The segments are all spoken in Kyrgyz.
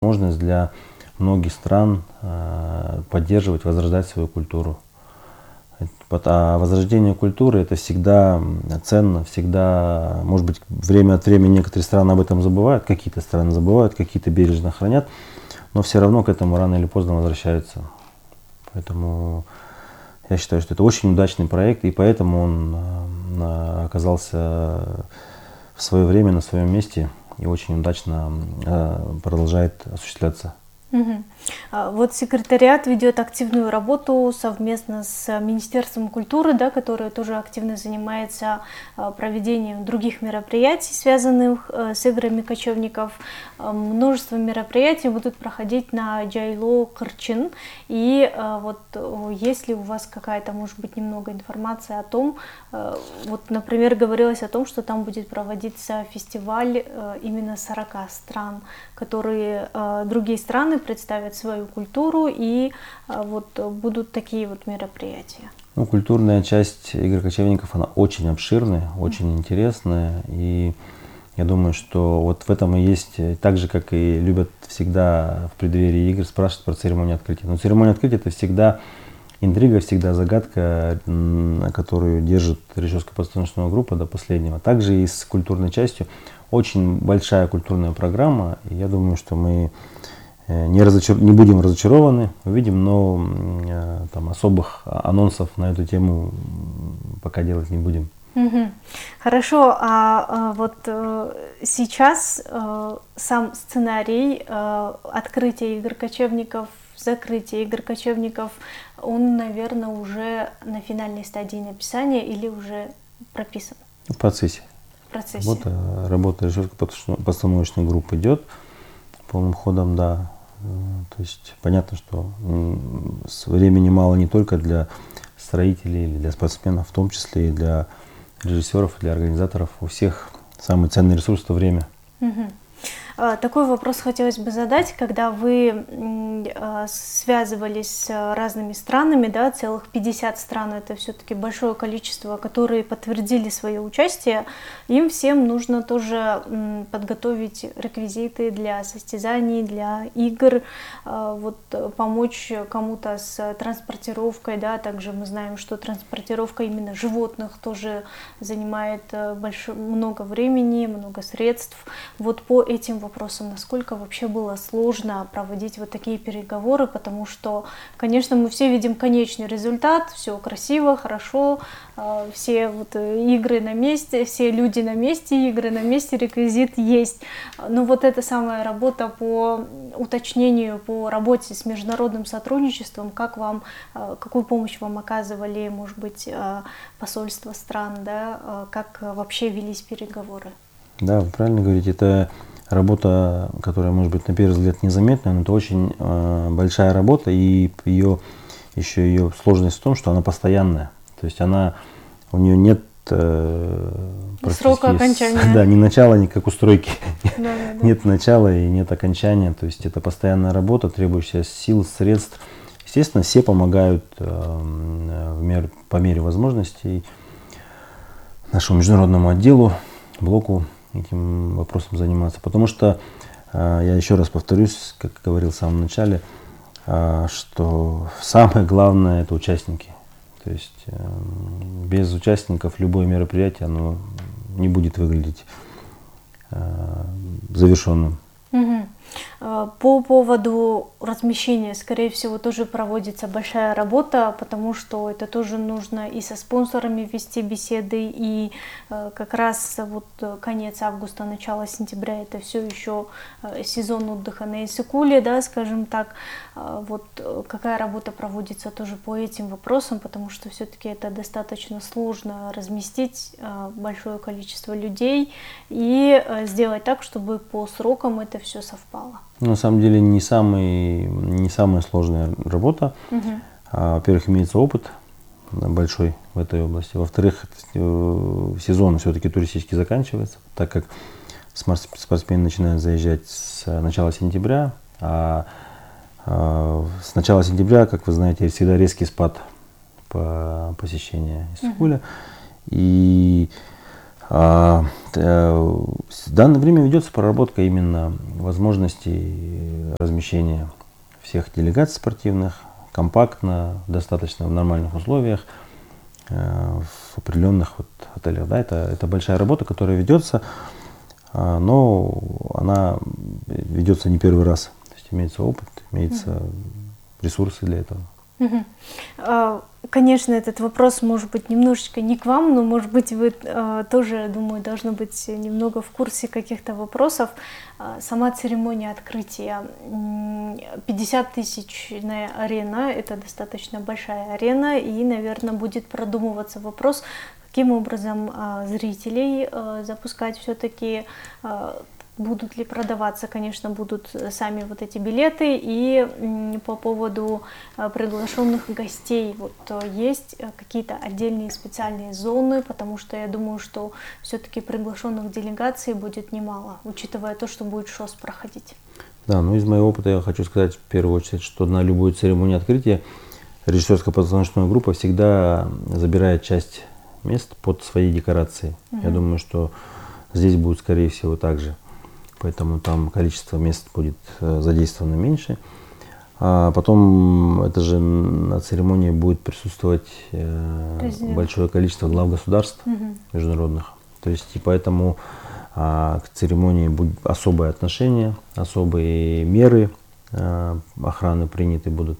возможность для многих стран поддерживать, возрождать свою культуру. А возрождение культуры — это всегда ценно, всегда, может быть, время от времени некоторые страны об этом забывают, какие-то страны забывают, какие-то бережно хранят, но все равно к этому рано или поздно возвращаются. Поэтому я считаю, что это очень удачный проект, и поэтому он оказался в свое время на своем месте и очень удачно продолжает осуществляться. Вот секретариат ведет активную работу совместно с Министерством культуры, да, которое тоже активно занимается проведением других мероприятий, связанных с играми кочевников. Множество мероприятий будут проходить на Жайлоо Кырчын. И вот есть ли у вас какая-то, может быть, немного информация о том, вот, например, говорилось о том, что там будет проводиться фестиваль именно 40 стран, которые другие страны представят свою культуру, и вот будут такие вот мероприятия. Ну, культурная часть игр кочевников, она очень обширная, очень интересная, и я думаю, что вот в этом и есть, так же, как и любят всегда в преддверии игр спрашивать про церемонию открытия. Но церемония открытия — это всегда интрига, всегда загадка, которую держит режиссерская постановочная группа до последнего. Также и с культурной частью. Очень большая культурная программа, и я думаю, что мы не будем разочарованы, увидим, но там особых анонсов на эту тему пока делать не будем. Хорошо, а вот сейчас сам сценарий открытия игр кочевников, закрытия игр кочевников, он, наверное, уже на финальной стадии написания или уже прописан? В процессе. Работа режиссерской постановочной группы идет полным ходом, да. То есть понятно, что времени мало не только для строителей или для спортсменов, в том числе и для режиссеров, для организаторов. У всех самый ценный ресурс — это время. Такой вопрос хотелось бы задать, когда вы связывались с разными странами, да, целых 50 стран, это все-таки большое количество, которые подтвердили свое участие, им всем нужно тоже подготовить реквизиты для состязаний, для игр, вот, помочь кому-то с транспортировкой, да, также мы знаем, что транспортировка именно животных тоже занимает много времени, много средств. Вот по этим вопросам, насколько вообще было сложно проводить вот такие переговоры, потому что, конечно, мы все видим конечный результат, все красиво, хорошо, все вот игры на месте, все люди на месте, игры на месте, реквизит есть. Но вот эта самая работа по уточнению, по работе с международным сотрудничеством, какую помощь вам оказывали, может быть, посольства стран, да, как вообще велись переговоры? Да, вы правильно говорите, это работа, которая, может быть, на первый взгляд незаметная, но это очень большая работа, и ее сложность в том, что она постоянная. То есть у нее нет срока окончания. Да, ни начала, ни как у стройки. Нет начала и нет окончания. То есть это постоянная работа, требующая сил, средств. Естественно, все помогают по мере возможностей нашему международному отделу, блоку этим вопросом заниматься. Потому что, я еще раз повторюсь, как говорил в самом начале, что самое главное — это участники. То есть без участников любое мероприятие, оно не будет выглядеть завершенным. По поводу размещения, скорее всего, тоже проводится большая работа, потому что это тоже нужно и со спонсорами вести беседы, и как раз вот конец августа, начало сентября — это все еще сезон отдыха на Иссык-Куле, да, скажем так. Вот какая работа проводится тоже по этим вопросам, потому что все-таки это достаточно сложно разместить большое количество людей и сделать так, чтобы по срокам это все совпало. На самом деле не самая сложная работа. Во-первых, имеется опыт большой в этой области. Во-вторых, сезон все-таки туристически заканчивается, так как спортсмены начинают заезжать с начала сентября. А с начала сентября, как вы знаете, всегда резкий спад по посещению Иссык-Куля. И В данное время ведется проработка именно возможностей размещения всех делегаций спортивных компактно, достаточно в нормальных условиях, в определенных отелях. Да, это большая работа, которая ведется, но она ведется не первый раз. То есть имеется опыт, имеются ресурсы для этого. Конечно, этот вопрос может быть немножечко не к вам, но, может быть, вы тоже, думаю, должны быть немного в курсе каких-то вопросов. Сама церемония открытия. 50-тысячная арена – это достаточно большая арена, и, наверное, будет продумываться вопрос, каким образом зрителей запускать все-таки. Будут ли продаваться, конечно, будут сами вот эти билеты. И по поводу приглашенных гостей, вот есть какие-то отдельные специальные зоны, потому что я думаю, что все-таки приглашенных делегаций будет немало, учитывая то, что будет ШОС проходить. Да, ну из моего опыта я хочу сказать в первую очередь, что на любую церемонию открытия режиссерская постановочная группа всегда забирает часть мест под свои декорации. Я думаю, что здесь будет, скорее всего, так же. Поэтому там количество мест будет задействовано меньше. А потом это же на церемонии будет присутствовать большое количество глав государств международных. То есть и поэтому к церемонии будет особое отношение, особые меры охраны приняты будут.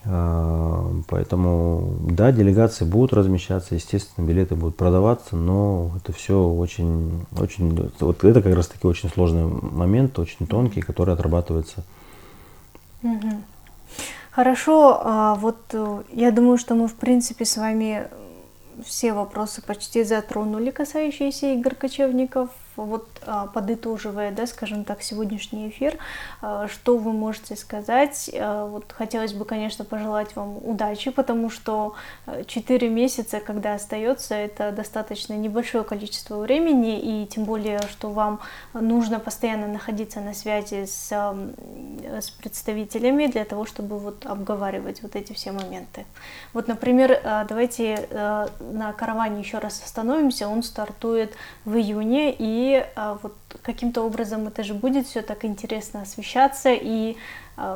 Поэтому, да, делегации будут размещаться, естественно, билеты будут продаваться, но это все очень, вот это как раз таки очень сложный момент, очень тонкий, который отрабатывается. Хорошо, вот я думаю, что мы, в принципе, с вами все вопросы почти затронули, касающиеся игр кочевников. Вот подытоживая, да, скажем так, сегодняшний эфир, что вы можете сказать? Вот хотелось бы, конечно, пожелать вам удачи, потому что 4 месяца, когда остается, это достаточно небольшое количество времени, и тем более, что вам нужно постоянно находиться на связи с представителями для того, чтобы вот обговаривать вот эти все моменты. Вот, например, давайте на караване еще раз остановимся, он стартует в июне, и вот каким-то образом это же будет все так интересно освещаться и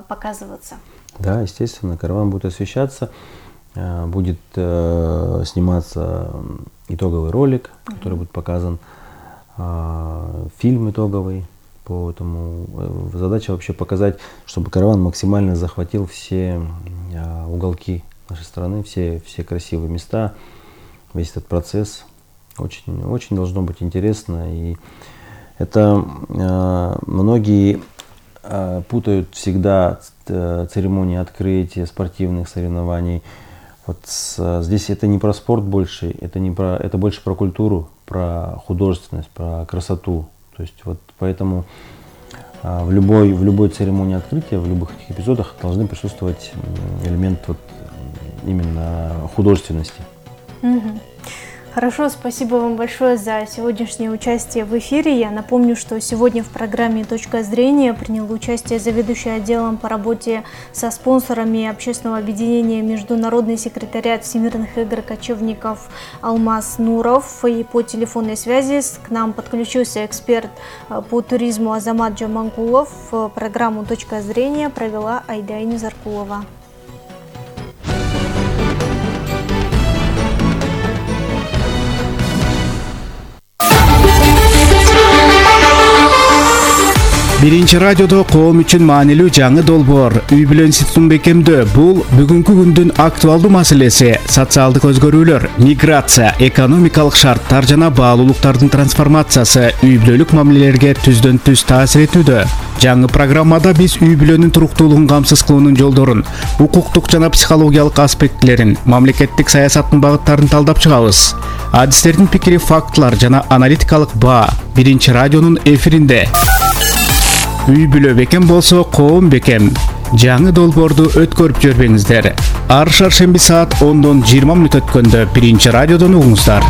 показываться. Да, естественно, караван будет освещаться, будет сниматься итоговый ролик, который будет показан, фильм итоговый по этому. Задача вообще показать, чтобы караван максимально захватил все уголки нашей страны, все красивые места, весь этот процесс. Очень, очень должно быть интересно, и это многие путают всегда церемонии открытия спортивных соревнований. Вот здесь это не про спорт больше, это больше про культуру, про художественность, про красоту. То есть вот поэтому в любой церемонии открытия, в любых этих эпизодах должны присутствовать элемент вот именно художественности. Хорошо, спасибо вам большое за сегодняшнее участие в эфире. Я напомню, что сегодня в программе «Точка зрения» принял участие заведующий отделом по работе со спонсорами общественного объединения «Международный секретариат Всемирных игр кочевников» Алмаз Нуров. И по телефонной связи к нам подключился эксперт по туризму Азамат Джамангулов. Программу «Точка зрения» провела Айдайна Заркулова. Биринчи радиодо коом үчүн маанилүү жаңы долбоор үй бүлө институтун бекемдөө. Бул бүгүнкү күндүн актуалдуу маселеси. Социалдык өзгөрүүлөр, миграция, экономикалык шарттар жана баалуулуктардын трансформациясы үй бүлөлүк мамилелерге түздөн түз таасир этүүдө. Жаңы программада биз үй бүлөнүн туруктуулугун камсыз кылуунун жолдорун, укуктук жана психологиялык аспектилерин, мамлекеттик саясаттын багыттарын талдап чыгабыз. Адистердин пикири, фактылар жана аналитикалык баа биринчи радионун эфиринде. Үй бүлө бекем болсо коом бекем. Жаңы долбоорду өткөрүп жибербеңиздер. Ар шаршемби саат 10:20 өткөндө биринчи радиодон угуңуздар.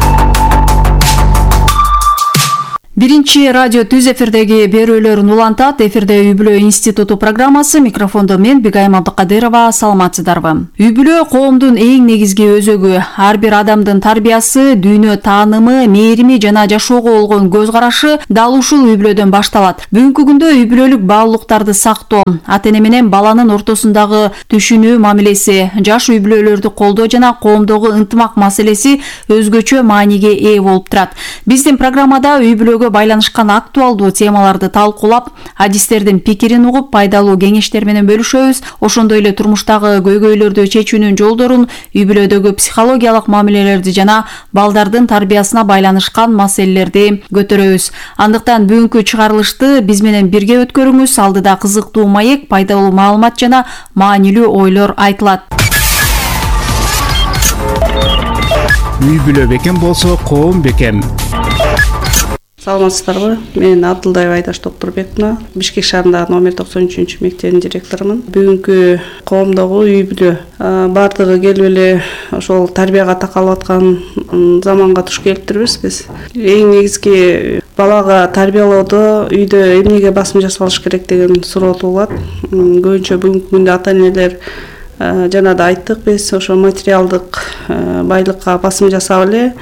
Биринчи радио түз эфирдеги берүүлөрүн улантат. Эфирде Үй бүлө институту программасы. Микрофондо мен Бигайым Абдыкадырова. Саламатсыздарбы? Үй бүлө коомдун эң негизги өзөгү. Ар бир адамдын тарбиясы, дүйнө таанымы, мээрими жана жашоого болгон көз карашы дал ушул үй бүлөдөн башталат. Бүгүнкү күндө үй бүлөлүк баалуулуктарды сактоо, ата-эне менен баланын ортосундагы түшүнүү мамилеси, жаш үй бүлөлөрдү колдоо жана коомдогу ынтымак маселеси өзгөчө мааниге ээ болуп турат. Биздин программада үй бүлөгө байланышкан актуалдуу темаларды талкуулап, адистердин пикирин угуп, пайдалуу кеңештер менен бөлүшөбүз. Ошондой эле турмуштагы көйгөйлөрдү чечүүнүн жолдорун, үй бүлөдөгү психологиялык мамилелерди жана балдардын тарбиясына байланышкан маселелерди көтөрөбүз. Андыктан бүгүнкү чыгарылышты биз менен бирге өткөрүңүз. Алдыда кызыктуу маек, пайдалуу маалымат жана маанилүү ойлор айтылат. Үй бүлө бекем болсо коом бекем. Саламатсыздарбы? Мен Абдылдаева Айдаш Докторбековна, Бишкек шаарындагы номер 93 мектебинин директорумун. Бүгүнкү коомдогу үй бүлө бардыгы келип эле ошол тарбияга такалып аткан заманга туш келиптирбиз биз. Эң негизги балага тарбиялоодо үйдө эмнеге басым жасалыш керек деген суроо туулат. Көбүнчө бүгүнкү күндө ата-энелер жана да айттык биз, ошо материалдык байлыкка басым жасап эле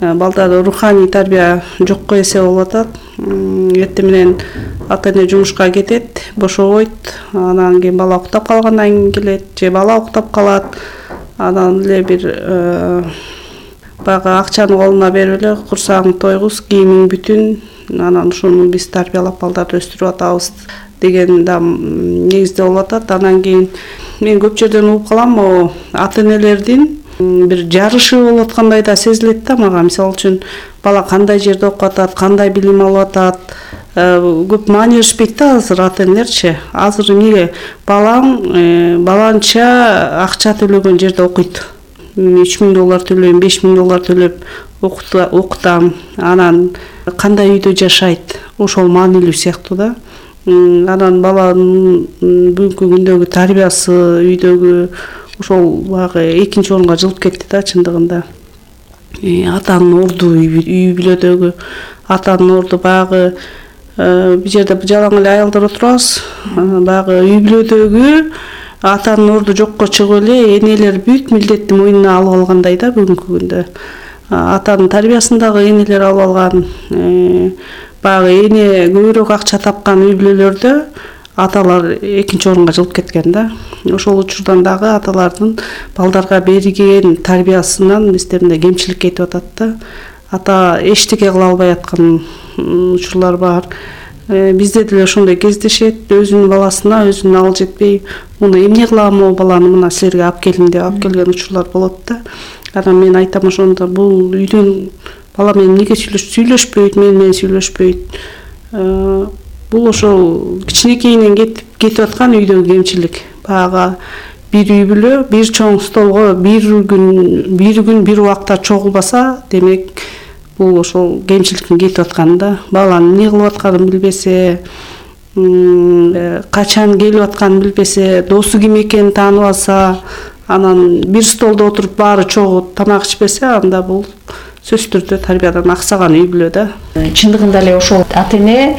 балдарды руханий тарбия жокко эсе болуп атат. Эртең менен ата-эне жумушка кетет, бошобойт, анан кийин бала уктап калгандан кийин келет, же бала уктап калат. Анан эле бир баягы акчаны колуна берип эле курсагың тойгуз, кийимиң бүтүн, анан ушуну биз тарбиялап балдарды өстүрүп атабыз деген да негизде болуп атат. Анан кийин мен көп жерден угуп калам, ата-энелердин бир жарышы болуп аткандай да сезилет да мага. Мисалы үчүн бала кандай жерде окуп атат, кандай билим алып атат, көп маани беришпейт да азыр ата-энелерчи. Азыр эмнеге баланча акча төлөгөн жерде окуйт. $3000 төлөйм, $5000 төлөп окутам. Анан кандай үйдө жашайт, ошол маанилүү сыяктуу да. Анан баланын бүгүнкү күндөгү тарбиясы, үйдөгү ошол баягы экинчи орунга жылып кетти да чындыгында. Атанын орду, үй бүлөдөгү атанын орду баягы бир жерде жалаң эле аялдар отурабыз. Баягы үй бүлөдөгү атанын орду жокко чыгып эле энелер бүт милдетти мойнуна алып алгандай да бүгүнкү күндө. Атанын тарбиясындагы энелер алып алган. Баягы эне көбүрөөк акча тапкан үй бүлөлөрдө аталар экинчи орунга жылып кеткен да. Ошол учурдан дагы аталардын балдарга берген тарбиясынан биздерде кемчилик кетип атат да. Ата эчтеке кыла албай аткан учурлар бар. Бизде деле ошондой кездешет. Өзүнүн баласына өзүнүн ал жетпей, муну эмне кылам, могу баланы мына силерге алып келдим деп алып келген учурлар болот да. Анан мен айтам ошондо бул үйдөн бала менен эмнеге сүйлөшпөйт, менен сүйлөшпөйт. Бул ошол кичинекейинен кетип аткан үйдөгү кемчилик. Баягы бир үй бүлө бир чоң столго бир күн бир убакта чогулбаса, демек бул ошол кемчиликтин кетип атканы да. Баланын эмне кылып атканын билбесе, качан келип атканын билбесе, досу ким экенин тааныбаса, анан бир столдо отуруп баары чогуу тамак ичпесе, анда бул сөзсүз түрдө тарбиядан аксаган үй бүлө да. Чындыгында эле ошол ата-эне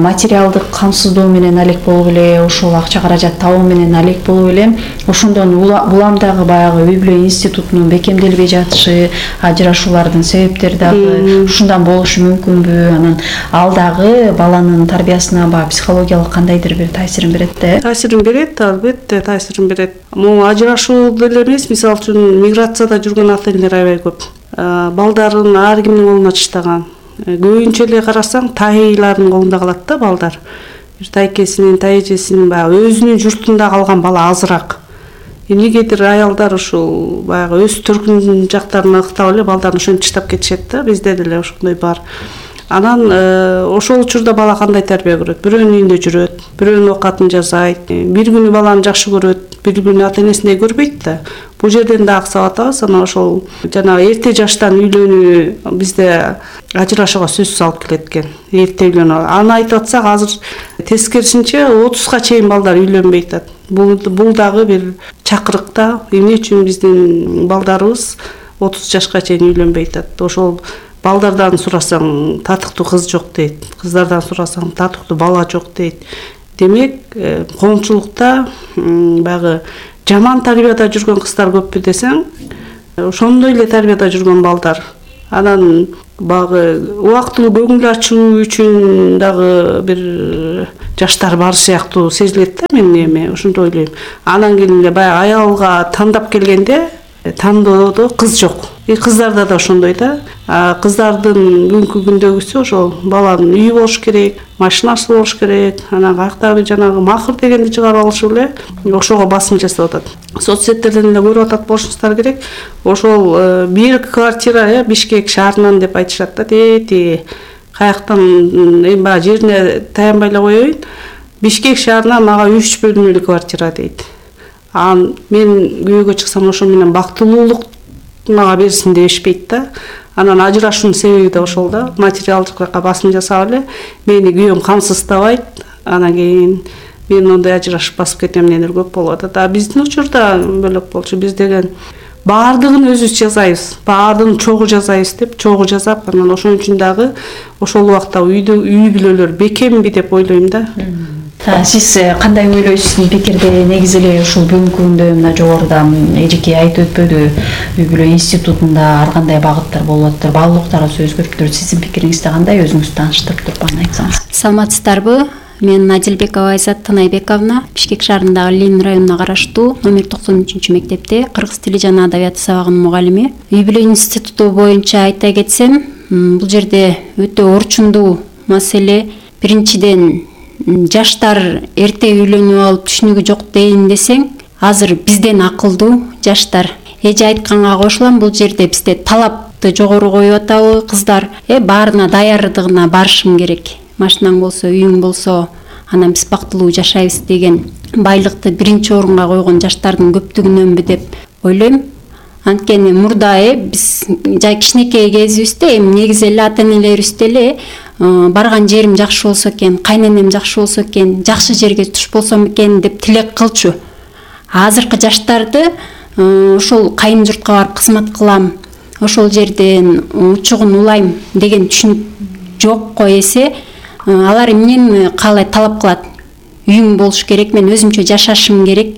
материалдык камсыздоо менен алек болуп эле, ошол акча каражат табуу менен алек болуп эле, ошондон буламдагы баягы үй бүлө институтунун бекемделбей жатышы, ажырашуулардын себептери дагы ушундан болушу мүмкүнбү? Анан ал дагы баланын тарбиясына психологиялык кандайдыр бир таасирин берет да? Таасирин берет, албетте таасирин берет. Могу ажырашуу деле эмес, мисалы үчүн миграцияда жүргөн ата-энелер аябай көп. Балдарын ар кимдин колуна таштаган. Көбүнчө эле карасаң тайылардын колунда калат да балдар. Бир тайкесинин, тайэжесинин баягы өзүнүн журтунда калган бала азыраак. Эмнегедир аялдар ушул баягы өз төркүн жактарына ыктап эле балдарын ошентип таштап кетишет да. Бизде деле ошондой бар. Анан ошол учурда бала кандай тарбия көрөт? Бирөөнүн үйүндө жүрөт, бирөөнүн оокатын жасайт. Бир күнү баланы жакшы көрөт, бир күнү ата-энесиндей көрбөйт да. Бул жерден да аксап атабыз. Анан ошол жанагы эрте жаштан үйлөнүү бизде ажырашууга сөзсүз алып келет экен. Эрте үйлөнүү. Аны айтып атсак, азыр тескерисинче 30га чейин балдар үйлөнбөй атат. Бул дагы бир чакырык да. Эмне үчүн биздин балдарыбыз 30 жашка чейин үйлөнбөй атат? Ошол балдардан сурасаң татыктуу кыз жок дейт, кыздардан сурасаң татыктуу бала жок дейт. Демек, коомчулукта баягы жаман тарбияда жүргөн кыздар көппү десең, ошондой эле тарбияда жүргөн балдар. Анан баягы убактылуу көңүл ачуу үчүн дагы бир жаштар бар сыяктуу сезилет да, мен эми ошондой ойлойм. Анан кийин эле баягы аялга тандап келгенде тандоодо кыз жок. Кыздарда да ошондой да. Кыздардын бүгүнкү күндөгүсү ошол баланын үйү болуш керек, машинасы болуш керек, анан каяктагы жанагы махыр дегенди чыгарып алышып эле ошого басым жасап атат. Соц сеттерден эле көрүп атат болушуңуздар керек. Ошол бир квартира Бишкек шаарынан деп айтышат да. Тети каяктан эми баягы жерине таянбай эле коеюн. Бишкек шаарынан мага 3 бөлмөлүү квартира дейт. Мен күйөөгө чыксам ошо менен бактылуулук мага берсин дешпейт да. Анан ажырашуунун себеби да ошол да. Материалдык жакка басым жасап эле мени күйөөм камсыздабайт. Анан кийин мен ондай ажырашып басып кетем дегендер көп болуп атат. Биздин учурда бөлөк болчу. Биз деген баардыгын өзүбүз жасайбыз, баардыгын чогуу жасайбыз деп чогуу жасап, анан ошон үчүн дагы ошол убакта үй бүлөлөр бекемби деп ойлойм да. Сиз кандай ойлойсуз? Пикирде негизи эле ушул бүгүнкү күндө мына жогоруда эжеке айтып өтпөдү, үй бүлө институтунда ар кандай багыттар болуп атат, баалуулуктарыбыз өзгөрүп турат. Сиздин пикириңизде кандай? Өзүңүз тааныштырып туруп аны айтсаңыз. Саламатсыздарбы? Мен Адилбекова Айзат Тынайбековна, Бишкек шаарындагы Ленин районуна караштуу номер 93 мектепте кыргыз тили жана адабияты сабагынын мугалими. Үй бүлө институту боюнча айта кетсем, бул жерде өтө орчундуу маселе. Биринчиден, жаштар эрте үйлөнүп алып түшүнүгү жок дейин десең, азыр бизден акылдуу жаштар. Эже айтканга кошулам, бул жерде бизде талапты жогору коюп атабы кыздар? Баарына даярдыгына барышым керек. Машинаң болсо, үйүң болсо, анан биз бактылуу жашайбыз деген байлыкты биринчи орунга койгон жаштардын көптүгүнөнбү деп ойлойм. Анткени мурда биз жай кичинекей кезибизде негизи эле ата-энелерибиз деле барган жерим жакшы болсо экен, кайненем жакшы болсо экен, жакшы жерге туш болсом экен деп тилек кылчу. Азыркы жаштарды ошол кайын журтка барып кызмат кылам, ошол жерден учугун улайм деген түшүнүк жокко эсе, алар эмнени каалайт, талап кылат. Үйүм болуш керек, мен өзүмчө жашашым керек.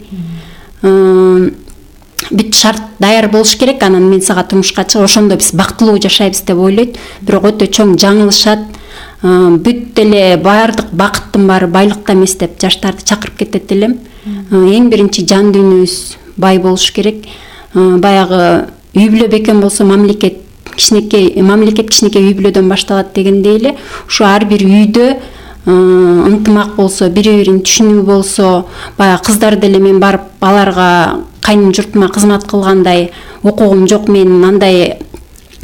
Бүт шарт даяр болуш керек, анан мен сага турмушка чыгып, ошондо биз бактылуу жашайбыз деп ойлойт. Бирок өтө чоң жаңылышат. Бүт эле баардык бакыттын баары байлыкта эмес деп жаштарды чакырып кетет элем. Эң биринчи жан дүйнөбүз бай болуш керек. Баягы үй бүлө бекем болсо мамлекет кичинекей үй бүлөдөн башталат дегендей эле, ушу ар бир үйдө ынтымак болсо, бири-бирин түшүнүү болсо, баягы кыздар деле мен барып аларга кайын журтума кызмат кылгандай укугум жок, мен андай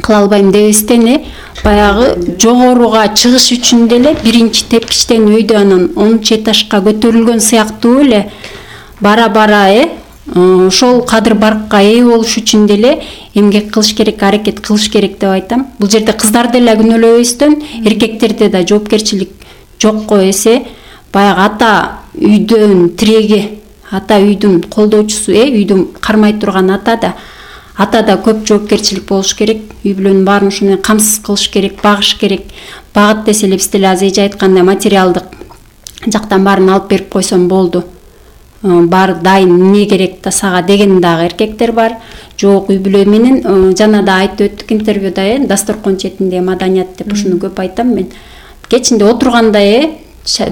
кыла албайм дебестен баягы жогоруга чыгыш үчүн деле биринчи тепкичтен өйдө анан 10 этажга көтөрүлгөн сыяктуу эле бара-бара ошол кадыр баркка ээ болуш үчүн деле эмгек кылыш керек, аракет кылыш керек деп айтам. Бул жерде кыздар деле күнөөлөбөстөн, эркектерде да жоопкерчилик жокко эсе, баягы ата үйдөн тиреги, ата үйдүн колдоочусу, үйдүн кармай турган ата да көп жоопкерчилик болуш керек. Үй бүлөнүн баарын ушуну камсыз кылыш керек, багыш керек. Багыт десе эле биз деле азыр эже айткандай материалдык жактан баарын алып берип койсом болду. Бар дайын, эмне керек да сага деген дагы эркектер бар. Жок, үй бүлө менен жана да айтып өттүк интервьюда, дасторкон четинде маданият деп ушуну көп айтам мен. Кечинде отурганда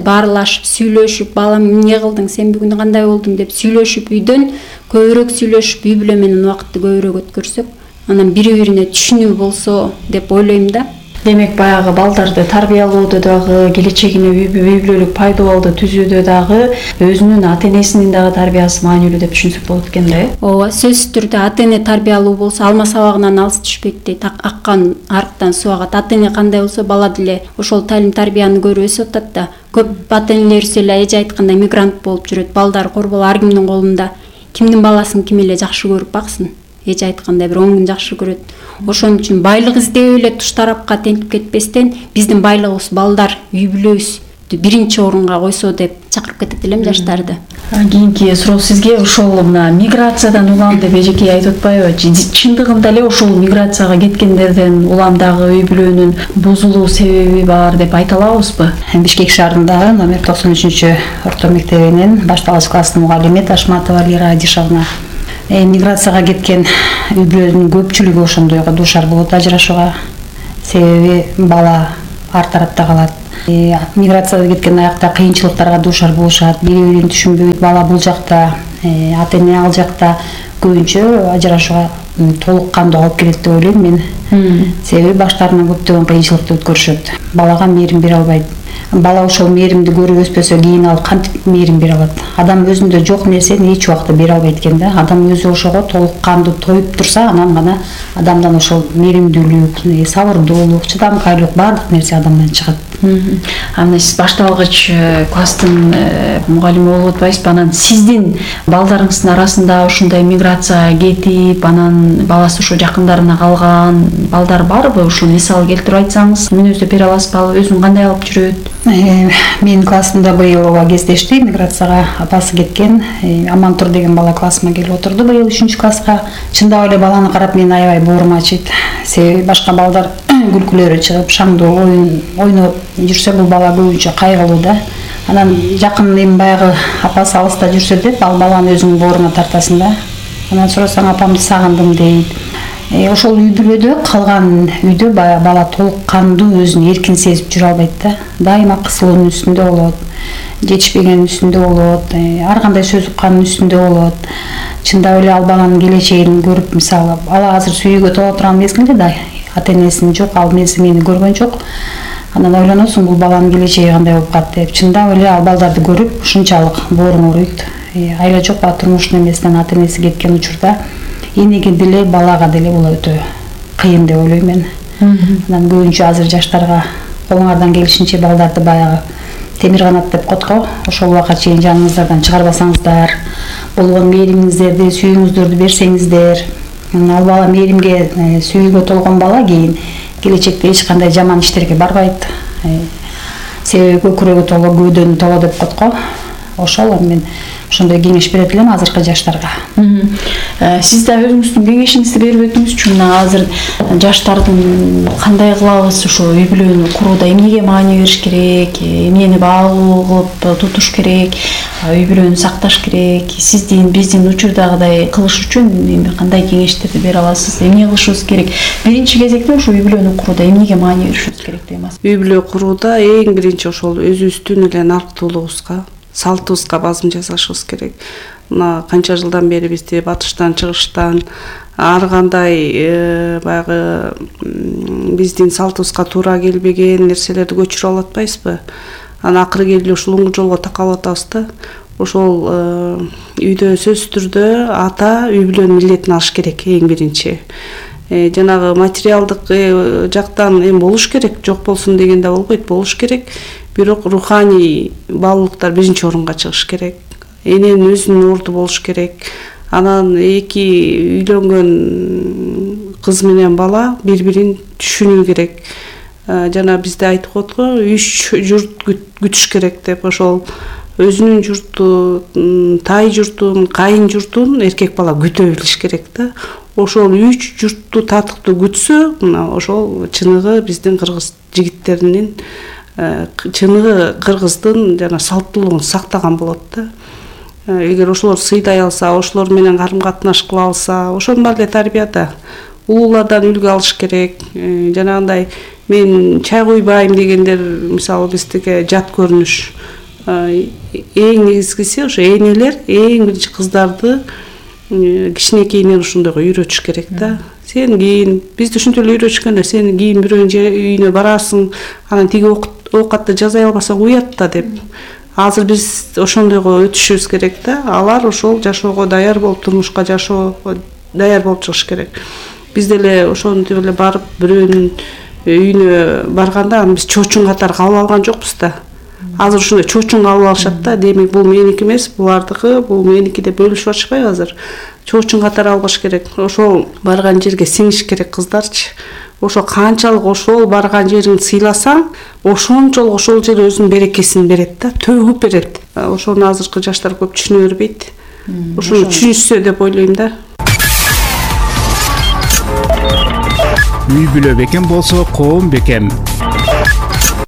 баарлашып, сүйлөшүп, балам эмне кылдың, сен бүгүн кандай болдуң деп сүйлөшүп, үйдөн көбүрөөк сүйлөшүп, үй бүлө менен убакытты көбүрөөк өткөрсөк, анан бири-бирине түшүнүү болсо деп ойлойм да. Демек баягы балдарды тарбиялоодо дагы, келечегине үй бүлөлүк пайдалуулду түзүүдө дагы өзүнүн ата-энесинин дагы тарбиясы маанилүү деп түшүнсөк болот экен да. Ооба, сөзсүз түрдө ата-эне тарбиялуу болсо алма сабагынан алыс түшпөйт дейт. Аккан арыктан суу агат. Ата-эне кандай болсо бала деле ошол талим тарбияны көрүп өсүп атат да. Көп ата-энелерибиз эле эже айткандай мигрант болуп жүрөт. Балдар корбол ар кимдин колунда. Кимдин баласын ким эле жакшы көрүп баксын. Эже айткандай бир 10 күн жакшы көрөт. Ошон үчүн байлык издеп эле туш тарапка тентип кетпестен, биздин байлыгыбыз балдар, үй бүлөбүз. биринчи орунга койсо деп чакырып кетет элем жаштарды. Кийинки суроо сизге ошол мына миграциядан улам деп эжеке айтып атпайбы? Чындыгында эле ошол миграцияга кеткендерден улам дагы үй бүлөнүн бузулуу себеби бар деп айта алабызбы? Бишкек шаарындагы номер 93 орто мектебинин башталгыч класстын мугалими Ташматова Лира Адишевна. Миграцияга кеткен үй бүлөнүн көпчүлүгү ошондойго дуушар болот ажырашууга. Себеби бала ар тарапта калат. Миграцияга кеткен аякта кыйынчылыктарга дуушар болушат. Бири-бирин түшүнбөйт. Бала бул жакта, ата-эне ал жакта көбүнчө ажырашууга толук кандуу алып келет деп ойлойм мен. Себеби баштарынан көптөгөн кыйынчылыкты өткөрүшөт. Балага мээрим бере албайт. Бала ошол мээримди көрүп өспөсө кийин ал кантип мээрим бере алат? Адам өзүндө жок нерсени эч убакта бере албайт экен да. Адам өзү ошого толук кандуу тоюп турса, анан гана адамдан ошол мээримдүүлүк, сабырдуулук, чыдамкайлык баардык нерсе адамдан чыгат. Анда сиз башталгыч класстын мугалими болуп атпайсызбы? Анан сиздин балдарыңыздын арасында ушундай миграцияга кетип, анан баласы ошо жакындарына калган балдар барбы? Ушул мисал келтирип айтсаңыз, мүнөздөп бере аласызбы? Өзүн кандай алып жүрөт? Менин классымда быйыл ооба кездешти. Миграцияга апасы кеткен Амантур деген бала классыма келип отурду быйыл 3-класска. Чындап эле баланы карап мен аябай боорум ачыйт. Себеби башка балдар күлкүлөрү чыгып, шаңдуу ойноп жүрсө, бул бала көбүнчө кайгылуу да. Анан жакын эми баягы апасы алыста жүрсө деп, ал баланы өзүңүн бооруна тартасың да. Анан сурасаң апамды сагындым дейт. Ошол үй бүлөдө калган үйдө бала толук кандуу өзүн эркин сезип жүрө албайт да. Дайыма кысылуунун үстүндө болот, жетишпегенин үстүндө болот, ар кандай сөз уккандын үстүндө болот. Чындап эле ал баланын келечегин көрүп, мисалы, ала азыр сүйүүгө толо турган мезгилде да, ата-энесин жок, ал мени көргөн жок. Анан ойлоносуң, бул баланын келечеги кандай болуп калат деп. Чындап эле ал балдарды көрүп, ушунчалык бооруң ооруйт. Айла жок ба турмуштун эмесинен ата-энеси кеткен учурда энеге деле балага деле бул өтө кыйын деп ойлойм мен. Анан көбүнчө азыр жаштарга колуңардан келишинче балдарды баягы темир канат деп котко, ошол убакка чейин жаныңыздардан чыгарбасаңыздар, болгон мээримиңиздерди, сүйүүңүздөрдү берсеңиздер, ал бала мээримге, сүйүүгө толгон бала кийин келечекте эч кандай жаман иштерге барбайт. Себеби көкүрөгү толо, көөдөнү толо деп котко. Ошол мен ошондой кеңеш берет элем азыркы жаштарга. Сиз да өзүңүздүн кеңешиңизди берип өтүңүзчү. Азыр жаштардын кандай кылабыз ошо үй бүлөнү курууда эмнеге маани бериш керек, эмнени баалуу кылып тутуш керек, үй бүлөнү сакташ керек? Сиздин биздин учурдагыдай кылыш үчүн эми кандай кеңештерди бере аласыз? Эмне кылышыбыз керек? Биринчи кезекте ошо үй бүлөнү курууда эмнеге маани беришибиз керек деп атасыз? Үй бүлө курууда эң биринчи ошол өзүбүздүн эле нарктуулугубузга, салтыбызга базым жасашыбыз керек. Мына канча жылдан бери бизди батыштан, чыгыштан ар кандай баягы биздин салтыбызга туура келбеген нерселерди көчүрүп алып атпайсызбы? Анан акыры келип ушул жолго такалып атабыз да. Ошол үйдө сөзсүз түрдө ата үй бүлөнүн милдетин алыш керек эң биринчи. Жанагы материалдык жактан эми болуш керек, жок болсун деген да болбойт, болуш керек. Бирок руханий баалуулуктар биринчи орунга чыгыш керек. Эненин өзүнүн орду болуш керек. Анан эки үйлөнгөн кыз менен бала бири-бирин түшүнүү керек. Жана бизде айтып коет го, 3 журт күтүш керек деп. Ошол өзүнүн журту, тай журтун, кайын журтун эркек бала күтө билиш керек да. Ошол 3 журтту татыктуу күтсө, мына ошол чыныгы биздин кыргыз жигиттеринин, чыныгы кыргыздын жана салттуулугун сактаган болот да. Эгер ошолор сыйдай алса, ошолор менен карым-катнаш кыла алса, ошонун баары эле тарбияда. Улуулардан үлгү алыш керек. Жанагындай мен чай куйбайм дегендер, мисалы биздики жат көрүнүш. Эң негизгиси ошо энелер эң биринчи кыздарды кичинекейинен ошондойго үйрөтүш керек да. Сен кийин бизди ушинтип эле үйрөтүшкөн, сен кийин бирөөнүн үйүнө барасың, анан тиги оокатты жасай албасаң уят да деп. Азыр биз ошондойго өтүшүбүз керек да. Алар ошол жашоого даяр болуп, турмушка жашоого даяр болуп чыгыш керек. Биз деле ошентип эле барып бирөөнүн үйүнө барганда биз чоочун катары кабыл алган жокпуз да. Азыр ушундай чоочун кабыл алышат да. Демек бул меники эмес, булардыкы, бул меники деп бөлүшүп атышпайбы азыр? Чоочун катары албаш керек. Ошол барган жерге сиңиш керек кыздарчы. ошо канчалык ошол барган жерин сыйласаң, ошончолук ошол жер өзүнүн берекесин берет да, төгүп берет. Ошону азыркы жаштар көп түшүнө бербейт. Ошону түшүнүшсө деп ойлойм да. Үй бүлө бекем болсо коом бекем.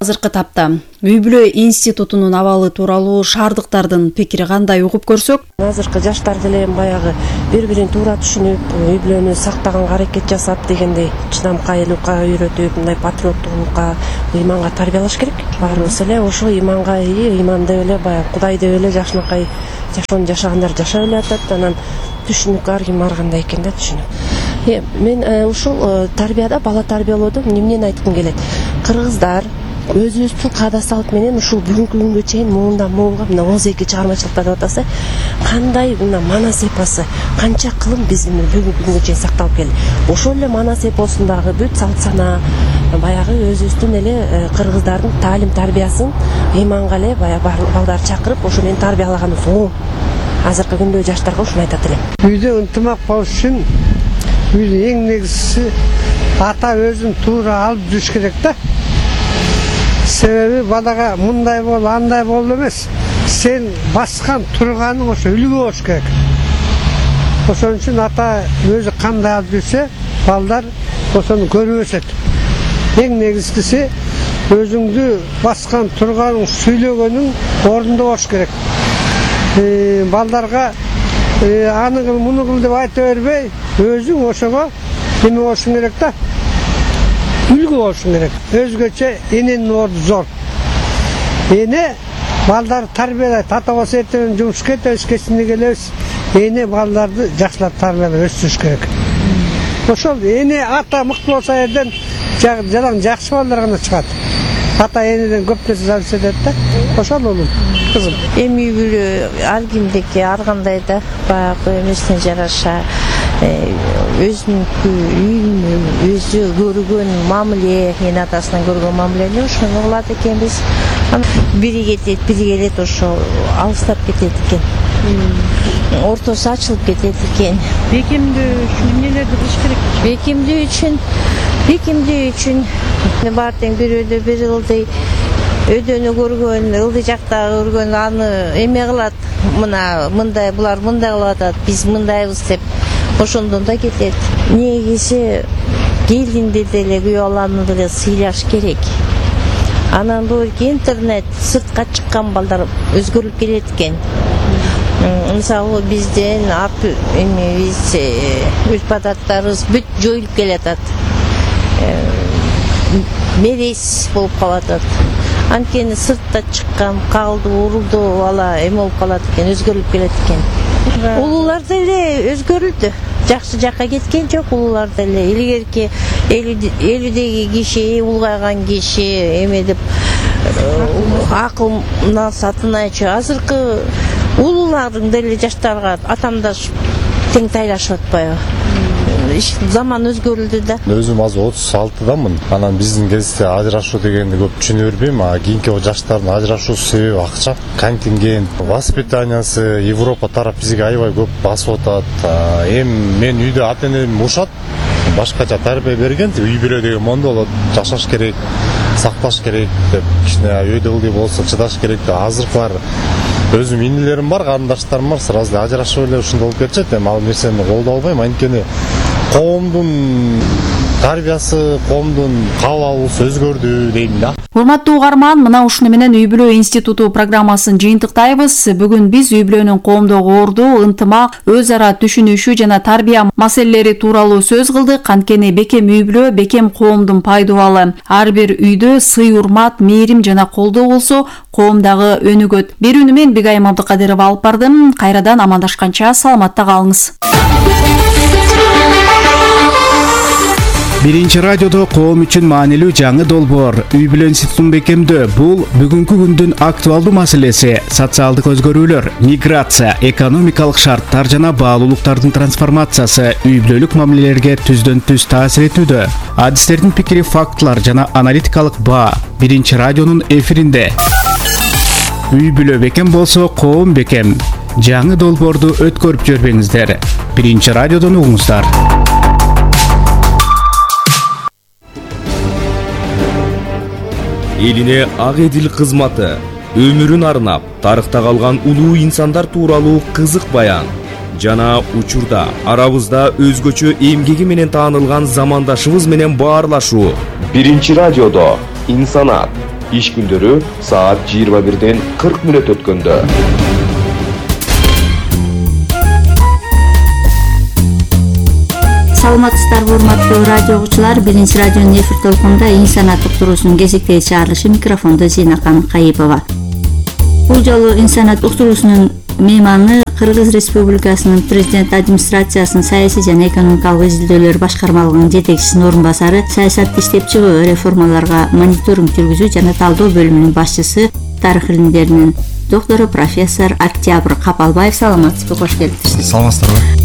Азыркы тапта үй бүлө институтунун абалы тууралуу шаардыктардын пикири кандай угуп көрсөк, азыркы жаштар деле баягы бири-бирин туура түшүнүп, үй бүлөнү сактаганга аракет жасап дегендей чыдамкайлыкка үйрөтүп, мындай патриоттугунга, ыйманга тарбиялаш керек. Баарыбыз эле ошо ыйманга, ыйман деп эле баягы Кудай деп эле жашынакай жашоону жашагандар жашап эле атат. Анан түшүнүк ар ким ар кандай экен да түшүнүк. Мен ушул тарбияда, бала тарбиялоодо эмнени айткым келет? Кыргыздар өзүбүздүн каада салт менен ушул бүгүнкү күнгө чейин муундан муунга мына 12 чыгармачылыкта деп атасы, кандай мына манас эпосы, канча кылым биздин бүгүнкү күнгө чейин сакталып келди. Ошол эле манас эпосундагы бүт салт сана, баягы өзүбүздүн эле кыргыздардын таалим тарбиясын ыйманга эле баягы балдар чакырып, ошо менен тарбиялаганыбыз оң. Азыркы күндө жаштарга ушуну айтат элем. Үйдө ынтымак болуш үчүн үйдүн эң негизгиси ата өзүн туура алып жүрүш керек да. Себеби балага мындай бол, андай бол эмес. Сен баскан турганың ошо үлгү болуш керек. Ошон үчүн ата өзү кандай алып жүрсө, балдар ошону көрүп өсөт. Эң негизгиси өзүңдү баскан турганың, сүйлөгөнүң ордунда болуш керек. Балдарга аны кыл, муну кыл деп айта бербей, өзүң ошого эме болушуң керек да. Үлгү болушуң керек. Өзгөчө эненин орду зор. Эне балдарды тарбиялайт. Ата болсо эртең жумушка кетебиз, кечинде келебиз. Эне балдарды жакшылап тарбиялап өстүрүш керек. Ошол эне ата мыкты болсо жерден жаран жакшы балдар гана чыгат. Ата энеден көп нерсе зависит этет да. Ошол улум, кызым. Эми үй бүлө ар кимдики ар кандай да баягы эмесине жараша өзүнүн үйүн өзү көргөн мамиле, эне атасынан көргөн мамилени ошону кылат экенбиз. Бири кетет, бири келет, ошо алыстап кетет экен. Ортосу ачылып кетет экен. Бекемдөө үчүн эмнелерди кылыш керек? Бекемдөө үчүн баары тең бир өйдө бир ылдый өйдөнү көргөн, ылдый жакта көргөн аны эме кылат. Мына мындай булар мындай кылып атат, биз мындайбыз деп ошондон да кетет. Негизи келинди деле күйөө баланы деле сыйлаш керек. Анан бул интернет, сыртка чыккан балдар өзгөрүп келет экен. Мисалы бизден биз үп адаттарыбыз бүт жоюлуп келатат. Мерес болуп калатат. Анткени сыртта чыккан, калды, урулду бала эме болуп калат экен, өзгөрүлүп келет экен. Улуулар деле өзгөрүлдү. Жакшы жакка кеткен жок улуулар деле. Илгерки 50-деги киши, улгайган киши эме деп акылына сатынайчы. Азыркы улуулардын деле жаштарга атамдашып тең тайлашып атпайбы? Заман өзгөрүлдү да. Өзүм азыр 36-дамын. Анан биздин кезде ажырашуу дегенди көп түшүнө бербейм. Кийинки жаштардын ажырашуусу себеби акча, контингент, воспитаниясы, Европа тарап бизге аябай көп басып атат. Эми мен үйдө ата-энем урушат, башкача тарбия берген, үй бүлө деген мондо болот, жашаш керек, сакташ керек деп, кичине өйдө ылдый болсо чыдаш керек деп. Азыркылар өзүм инилерим бар, карындаштарым бар, сразу ажырашып эле ушундай болуп кетишет. Эми ал нерсени колдой албайм, анткени коомдун тарбиясы, коомдун кабыл алуусу өзгөрдү дейм да. Урматтуу угарман, мына ушуну менен үй бүлө институту программасын жыйынтыктайбыз. Бүгүн биз үй бүлөнүн коомдогу орду, ынтымак, өз ара түшүнүшү жана тарбия маселелери тууралуу сөз кылдык. Анткени бекем үй бүлө, бекем коомдун пайдубалы. Ар бир үйдө сый, урмат, мээрим жана колдоо болсо, коом дагы өнүгөт. Берүүнү мен Бигайым Абдыкадырова алып бардым. Кайрадан амандашканча саламатта калыңыз. Биринчи радиодо коом үчүн маанилүү жаңы долбоор үй бүлө институтун бекемдөө. Бул бүгүнкү күндүн актуалдуу маселеси. Социалдык өзгөрүүлөр, миграция, экономикалык шарттар жана баалуулуктардын трансформациясы үй бүлөлүк мамилелерге түздөн түз таасир этүүдө. Адистердин пикири, фактылар жана аналитикалык баа биринчи радионун эфиринде. Үй бүлө бекем болсо коом бекем. Жаңы долбоорду өткөрүп жибербеңиздер. Биринчи радиодон угуңуздар. элине ак эдил кызматы, өмүрүн арнап тарыхта калган улуу инсандар тууралуу кызык баян жана учурда арабызда өзгөчө эмгеги менен таанылган замандашыбыз менен баарлашуу. Биринчи радиодо инсанат иш күндөрү саат 21:40 өткөндө. Саламатсыздарбы урматтуу радио угуучулар, Биринчи радионун эфир толкунунда инсанат уктуруусунун кезектеги чыгарылышы, микрофондо Зейнакан Кайыпова. Бул жолу инсанат уктуруусунун мейманы Кыргыз Республикасынын президент администрациясынын саясий жана экономикалык изилдөөлөр башкармалыгынын жетекчисинин орун басары, саясатты иштеп чыгуу, реформаларга мониторинг жүргүзүү жана талдоо бөлүмүнүн башчысы, тарых илимдеринин доктору профессор Октябрь Капалбаев. Саламатсызбы, кош келиптирсиз. Саламатсыздарбы.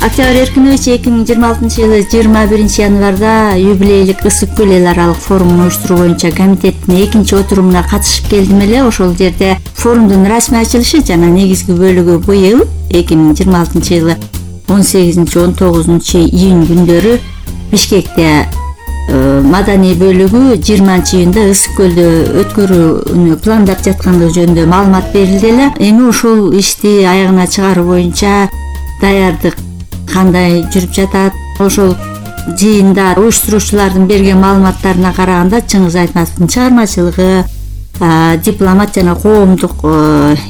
Октябрь Эркинович 2026-жылы 21-январда юбилейлик Ысык көл эл аралык форумун уюштуруу боюнча комитеттин экинчи отурумуна катышып келдим эле. Ошол жерде форумдун расмий ачылышы жана негизги бөлүгү быйыл 2026-жылы 18-19 июнь күндөрү Бишкекте, маданий бөлүгү 20-июнда Ысык көлдө өткөрүүнү пландап жаткандыгы жөнүндө маалымат берилди эле. Эми ошол ишти аягына чыгаруу боюнча даярдык кандай жүрүп жатат? Ошол жыйында уюштуруучулардын берген маалыматтарына караганда Чыңгыз Айтматовдун чыгармачылыгы, дипломат жана коомдук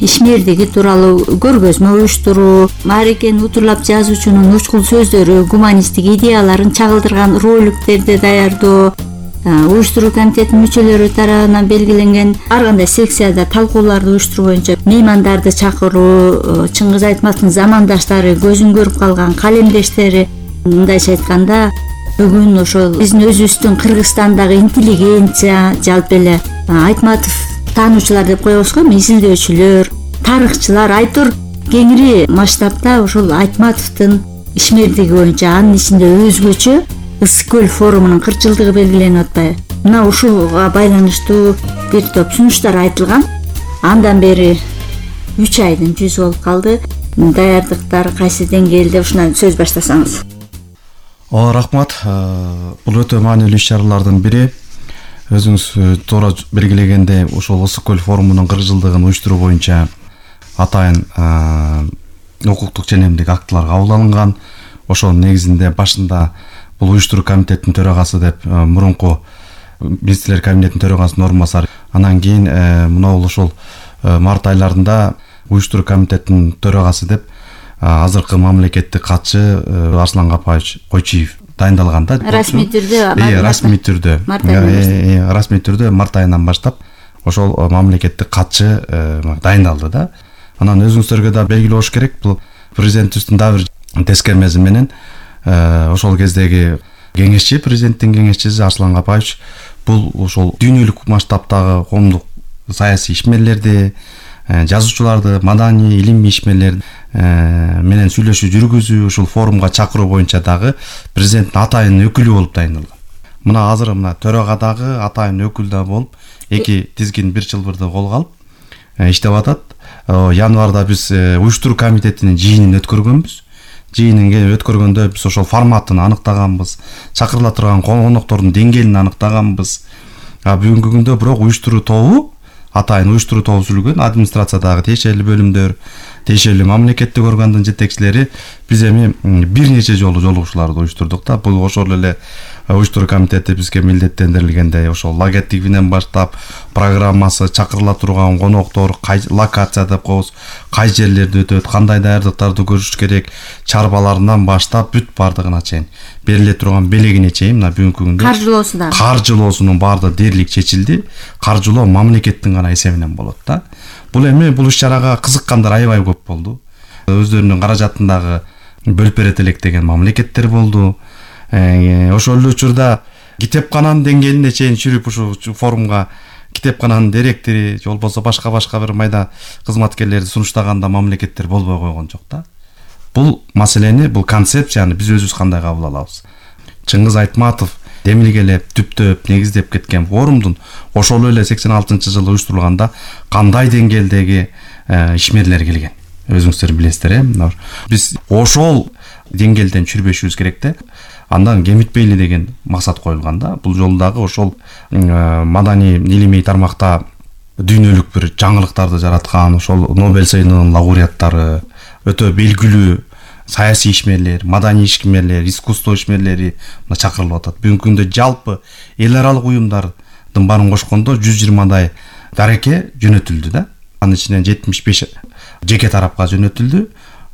ишмердиги тууралуу көргөзмө уюштуруу, маарекени утурлап жазуучунун учкул сөздөрү, гуманисттик идеяларын чагылдырган роликтерди даярдоо, уюштуруу комитетинин мүчөлөрү тарабынан белгиленген ар кандай секцияда талкууларды уюштуруу боюнча меймандарды чакыруу, Чыңгыз Айтматовдун замандаштары, көзүн көрүп калган калемдештери, мындайча айтканда бүгүн ошол биздин өзүбүздүн Кыргызстандагы интеллигенция, жалпы эле Айтматов таануучулар деп коебуз го, изилдөөчүлөр, тарыхчылар, айтор кеңири масштабта ошол Айтматовдун ишмердиги боюнча, анын ичинде өзгөчө Ысык көл форумунун 40 жылдыгы белгиленип атпайбы? Мына ушуга байланыштуу бир топ сунуштар айтылган. Андан бери 3 айдын жүзү болуп калды. Даярдыктар кайсы деңгээлде, ушундан сөз баштасаңыз. Рахмат. Бул өтө маанилүү иш-чаралардын бири. Өзүңүз туура белгилегендей, ошол Ысык көл форумунун 40 жылдыгын уюштуруу боюнча атайын укуктук ченемдик актылар кабыл алынган. Ошонун негизинде башында бул уюштуруу комитетинин төрагасы деп мурунку министрлер кабинетинин төрагасынын орун басары, анан кийин мына ошол март айларында уюштуруу комитетинин төрагасы деп азыркы мамлекеттик катчы Арслан Капаевич Койчиев дайындалган да. Расмий түрдө. Расмий түрдө март айынан баштап ошол мамлекеттик катчы дайындалды да. Анан өзүңүздөргө да белгилүү болуш керек, бул президентибиздин дагы бир тескермеси менен ошол кездеги кеңешчи, президенттин кеңешчиси Арслан Капаевич бул ошол дүйнөлүк масштабтагы коомдук саясий ишмерлерди, жазуучуларды, маданий, илимий ишмерлер менен сүйлөшүү жүргүзүү, ушул форумга чакыруу боюнча дагы президенттин атайын өкүлү болуп дайындалган. Мына азыр мына төрагадагы атайын өкүл да болуп, эки тизгин бир чылбырды колго алып иштеп атат. Январда биз уюштуруу комитетинин жыйынын өткөргөнбүз. Жыйынын өткөргөндө биз ошол форматын аныктаганбыз, чакырыла турган коноктордун деңгээлин аныктаганбыз. Бүгүнкү күндө бирок уюштуруу тобу, атайын уюштуруу тобу түзүлгөн, администрациядагы тиешелүү бөлүмдөр, тиешелүү мамлекеттик органдын жетекчилери биз эми бир нече жолу жолугушууларды уюштурдук да. Бул ошол эле уюштуруу комитети бизге милдеттендирилгендей ошол логотипинен баштап программасы, чакырыла турган коноктор, локация деп коебуз, кай жерлерде өтөт, кандай даярдыктарды көрүш керек, чарбаларынан баштап бүт бардыгына чейин бериле турган белегине чейин мына бүгүнкү күндө каржылоосунун баардыгы дээрлик чечилди. Каржылоо мамлекеттин гана эсебинен болот да. Бул эми бул иш-чарага кызыккандар аябай көп болду. Өздөрүнүн каражатындагы бөлүп берет элек деген мамлекеттер болду. Ошол эле учурда китепкананын деңгээлине чейин чүрүп ушу форумга китепкананын директори же болбосо башка бир майда кызматкерлерди сунуштаганда мамлекеттер болбой койгон жок да. Бул маселени, бул концепцияны биз өзүбүз кандай кабыл алабыз? Чыңгыз Айтматов демилгелеп, түптөп, негиздеп кеткен форумдун ошол эле 86-жылы уюштурулганда кандай деңгээлдеги ишмерлер келген? өзүңүздөр билесиздер. Биз ошол деңгээлден чүрбөшүбүз керек да. Андан кемитпейли деген максат коюлган да. Бул жолу дагы ошол маданий илимий тармакта дүйнөлүк бир жаңылыктарды жараткан ошол Нобель сыйынынын лауреаттары, өтө белгилүү саясий ишмерлер, маданий ишмерлер, искусство ишмерлери чакырылып атат. Бүгүнкү күндө жалпы эл аралык уюмдардын баарын кошкондо 120дай дареке жөнөтүлдү да. Анын ичинен 75 жеке тарапка жөнөтүлдү.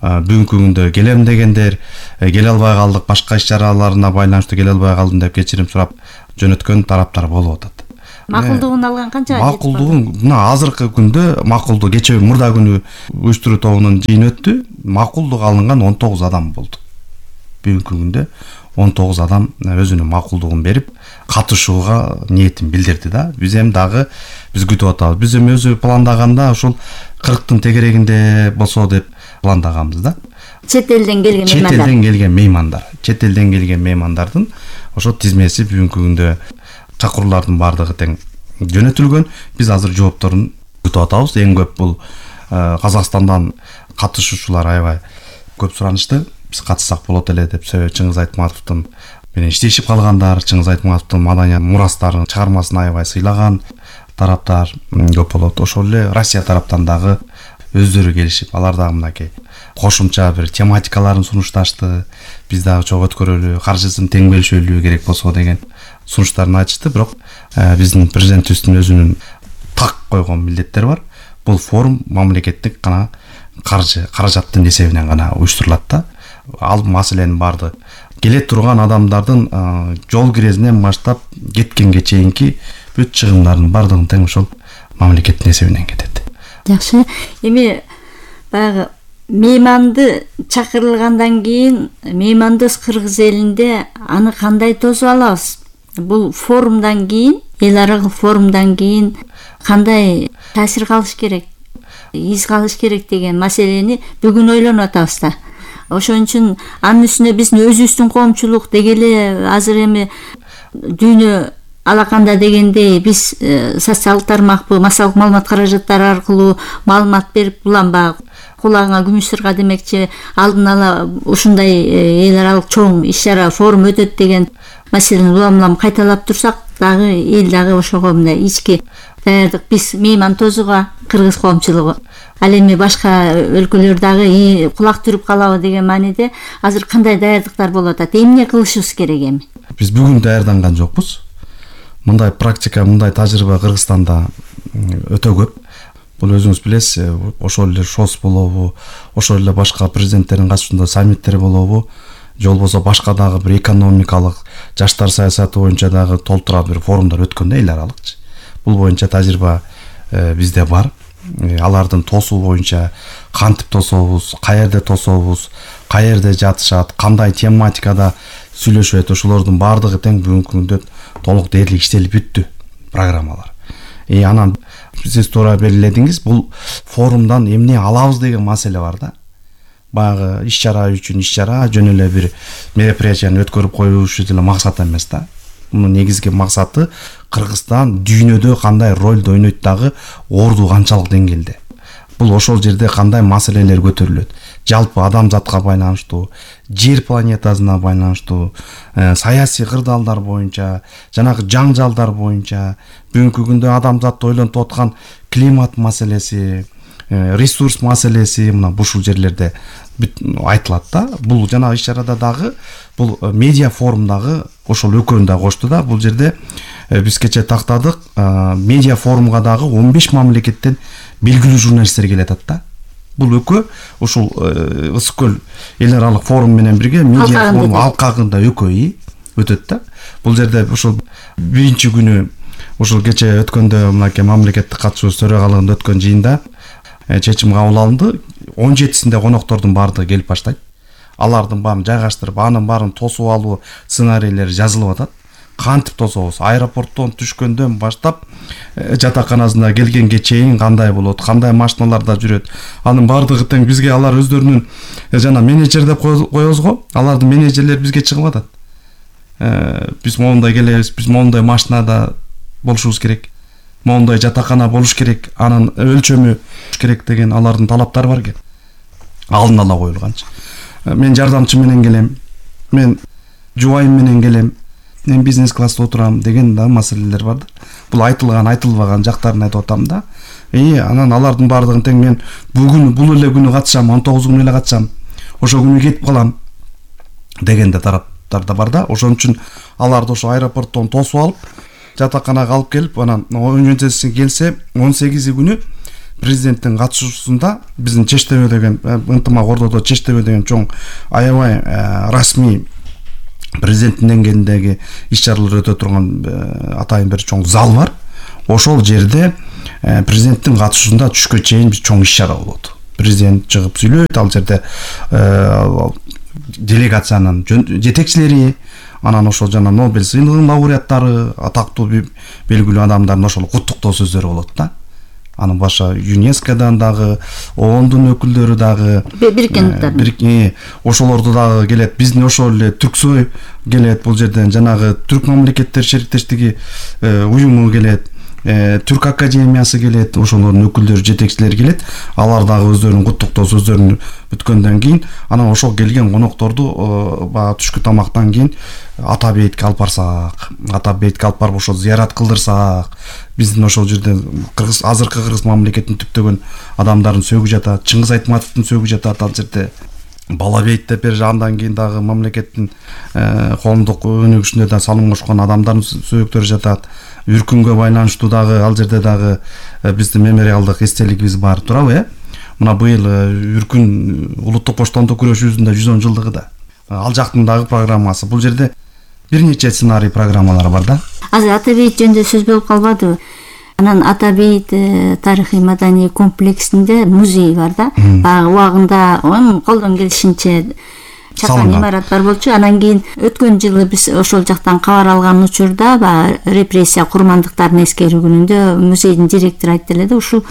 Бүгүнкү күндө келем дегендер келе албай калдык, башка иш чараларына байланыштуу келе албай калдым деп кечирим сурап жөнөткөн тараптар болуп атат. Макулдугун алган канча? Макулдугун мына азыркы күндө макулдук кечээ мурда күнү уюштуруу тобунун жыйыны өттү. Макулдук алынган 19 адам болду. Бүгүнкү күндө 19 адам өзүнүн макулдугун берип, катышууга ниетин билдирди да. Биз эми дагы биз күтүп атабыз. Биз эми өзү пландаганда ошол 40тын тегерегинде болсо деп пландаганбыз да. Чет элден келген меймандар. Чет элден келген меймандардын ошо тизмеси бүгүнкү күндө чакыруулардын баардыгы тең жөнөтүлгөн. Биз азыр жоопторун күтүп атабыз. Эң көп бул Казакстандан катышуучулар аябай көп суранышты. Биз катышсак болот эле деп Чыңгыз Айтматовдун менен иштешип калгандар, Чыңгыз Айтматовдун маданий мурастарын, чыгармасын аябай сыйлаган тараптар көп болот. Ошол эле Россия тараптан дагы өздөрү келишип, алар дагы мынакей кошумча бир тематикаларын сунушташты. Биз дагы чогуу өткөрөлү, каржысын тең бөлүшөлү керек болсо деген сунуштарын айтышты. Бирок биздин президентибиздин өзүнүн так койгон милдеттери бар. Бул форум мамлекеттик гана каражаттын эсебинен гана уюштурулат да. Ал маселенин баардыгы келе турган адамдардын жол кирезинен баштап кеткенге чейинки бүт чыгымдардын баардыгын тең ошол мамлекеттин эсебинен кетет. Жакшы. Эми баягы мейманды чакырылгандан кийин меймандос кыргыз элинде аны кандай тосуп алабыз? Бул форумдан кийин, эл аралык форумдан кийин кандай таасир калыш керек, из калыш керек деген маселени бүгүн ойлонуп атабыз да. Ошон үчүн анын үстүнө биздин өзүбүздүн коомчулук деги эле азыр эми дүйнө алаканда дегендей биз социалдык тармакпы, массалык маалымат каражаттары аркылуу маалымат берип буланбак кулагыңа күмүш сырга демекчи алдын ала ушундай эл аралык чоң иш чара форум өтөт деген маселени улам кайталап турсак дагы эл дагы ошого мындай ички даярдык биз мейман тосууга кыргыз коомчулугу ал эми башка өлкөлөр дагы кулак түрүп калабы деген мааниде азыр кандай даярдыктар болуп атат, эмне кылышыбыз керек эми? Биз бүгүн даярданган жокпуз. Мындай практика, мындай тажрыйба Кыргызстанда өтө көп. Бул өзүңүз билесиз, ошол эле ШОС болобу, ошол эле башка президенттердин катышуусунда саммиттер болобу, же болбосо башка дагы бир экономикалык, жаштар саясаты боюнча дагы толтура бир форумдар өткөн да эл аралыкчы. Бул боюнча тажрыйба бизде бар. Алардын тосуу боюнча кантип тособуз, каерде тособуз, каерде жатышат, кандай тематикада сүйлөшөт, ошолордун баардыгы тең бүгүнкү күндө толук дээрлик иштелип бүттү программалар. Анан сиз туура белгиледиңиз, бул форумдан эмне алабыз деген маселе бар да. Баягы иш чара үчүн иш чара, жөн эле бир мероприятияны өткөрүп коюш деле максат эмес да. Мунун негизги максаты Кыргызстан дүйнөдө кандай ролду ойнойт дагы орду канчалык деңгээлде. Бул ошол жерде кандай маселелер көтөрүлөт. Жалпы адамзатка байланыштуу, жер планетасына байланыштуу, саясий кырдаалдар боюнча, жанагы жаңжалдар боюнча, бүгүнкү күндө адамзат ойлонуп аткан климат маселеси, ресурс маселеси мына ушул жерлерде айтылат да. Бул жанагы иш чарада дагы бул медиа форумдагы ошол экөөнү да кошту да. Бул жерде биз кечээ тактадык, медиа форумга дагы 15 мамлекеттен белгилүү журналисттер келет да. Бул экөө ушул Ысык көл эл аралык форум менен бирге медиа форум алкагында экөө өтөт да. Бул жерде ушул биринчи күнү ушул кечээ өткөндө мынакей мамлекеттик катышуусу төрагалыгында өткөн жыйында чечим кабыл алынды. 17-синде коноктордун баардыгы келип баштайт. Алардын баарын жайгаштырып, анын баарын тосуп алуу сценарийлери жазылып атат. Кантип тособуз? Аэропорттон түшкөндөн баштап жатаканасына келгенге чейин кандай болот, кандай машиналарда жүрөт. Анын баардыгы тең бизге алар өздөрүнүн жана менеджер деп коебуз го. Алардын менеджерлери бизге чыгып атат. Биз моундай келебиз, биз моундай машинада болушубуз керек. Моундай жатакана болуш керек, анын өлчөмү керек деген алардын талаптары бар экен. алдын ала коюлганчы. Мен жардамчы менен келем, мен жубайым менен келем, мен бизнес класста отурам деген да маселелер бар да. Бул айтылган айтылбаган жактарын айтып атам да. Анан алардын баардыгын тең мен бүгүн бул эле күнү катышам, 19 күнү эле катышам, ошол күнү кетип калам деген да тараптар да бар да. Ошон үчүн аларды ошо аэропорттон тосуп алып, жатаканага алып келип, анан 17-си келсе 18 күнү президенттин катышуусунда биздин Чечтебе деген ынтымак ордодо Чечтебе деген чоң аябай расмий президенттин деңгээлиндеги иш-чаралар өтө турган атайын бир чоң зал бар. Ошол жерде президенттин катышуусунда түшкө чейин бир чоң иш-чара болот. Президент чыгып сүйлөйт, ал жерде делегациянын жетекчилери, анан ошол жана Нобель сыйлыгынын лауреаттары, атактуу белгилүү адамдардын ошол куттуктоо сөздөрү болот да. Анын баша ЮНЕСКОдан дагы, ООНдун өкүлдөрү дагы, Бириккен ошолорду дагы келет. Биздин ошол эле Түрксой келет, бул жерден жанагы Түрк мамлекеттер шериктештиги уюму келет, Түрк академиясы келет, ошолордун өкүлдөрү, жетекчилери келет. Алар дагы өздөрүнүн куттуктоо сөздөрүн бүткөндөн кийин, анан ошол келген конокторду баягы түшкү тамактан кийин ата бейитке алып барсак, ата бейитке алып барып ошол зыярат кылдырсак, биздин ошол жерде азыркы Кыргыз мамлекетин түптөгөн адамдардын сөөгү жатат, Чыңгыз Айтматовдун сөөгү жатат ал жерде. Бала бейит деп бери андан кийин дагы мамлекеттин коомдук өнүгүшүнө да салым кошкон адамдардын сөөктөрү жатат. Үркүнгө байланыштуу дагы ал жерде дагы биздин мемориалдык эстелигибиз бар, турабы? Мына быйыл Үркүн улуттук поштондук күрөшүүсүнүн 110 жылдыгы да. Ал жактын дагы программасы. Бул жерде бир нече сценарий программалар бар да. Азыр ата бейит жөнүндө сөз болуп калбадыбы? Анан ата бейит тарыхый маданий комплексинде музей бар да. Баягы убагында колдон келишинче чапан имарат бар болчу. Анан кийин өткөн жылы биз ошол жактан кабар алган учурда баягы репрессия курмандыктарын эскерүү күнүндө музейдин директору айтты эле да, ушул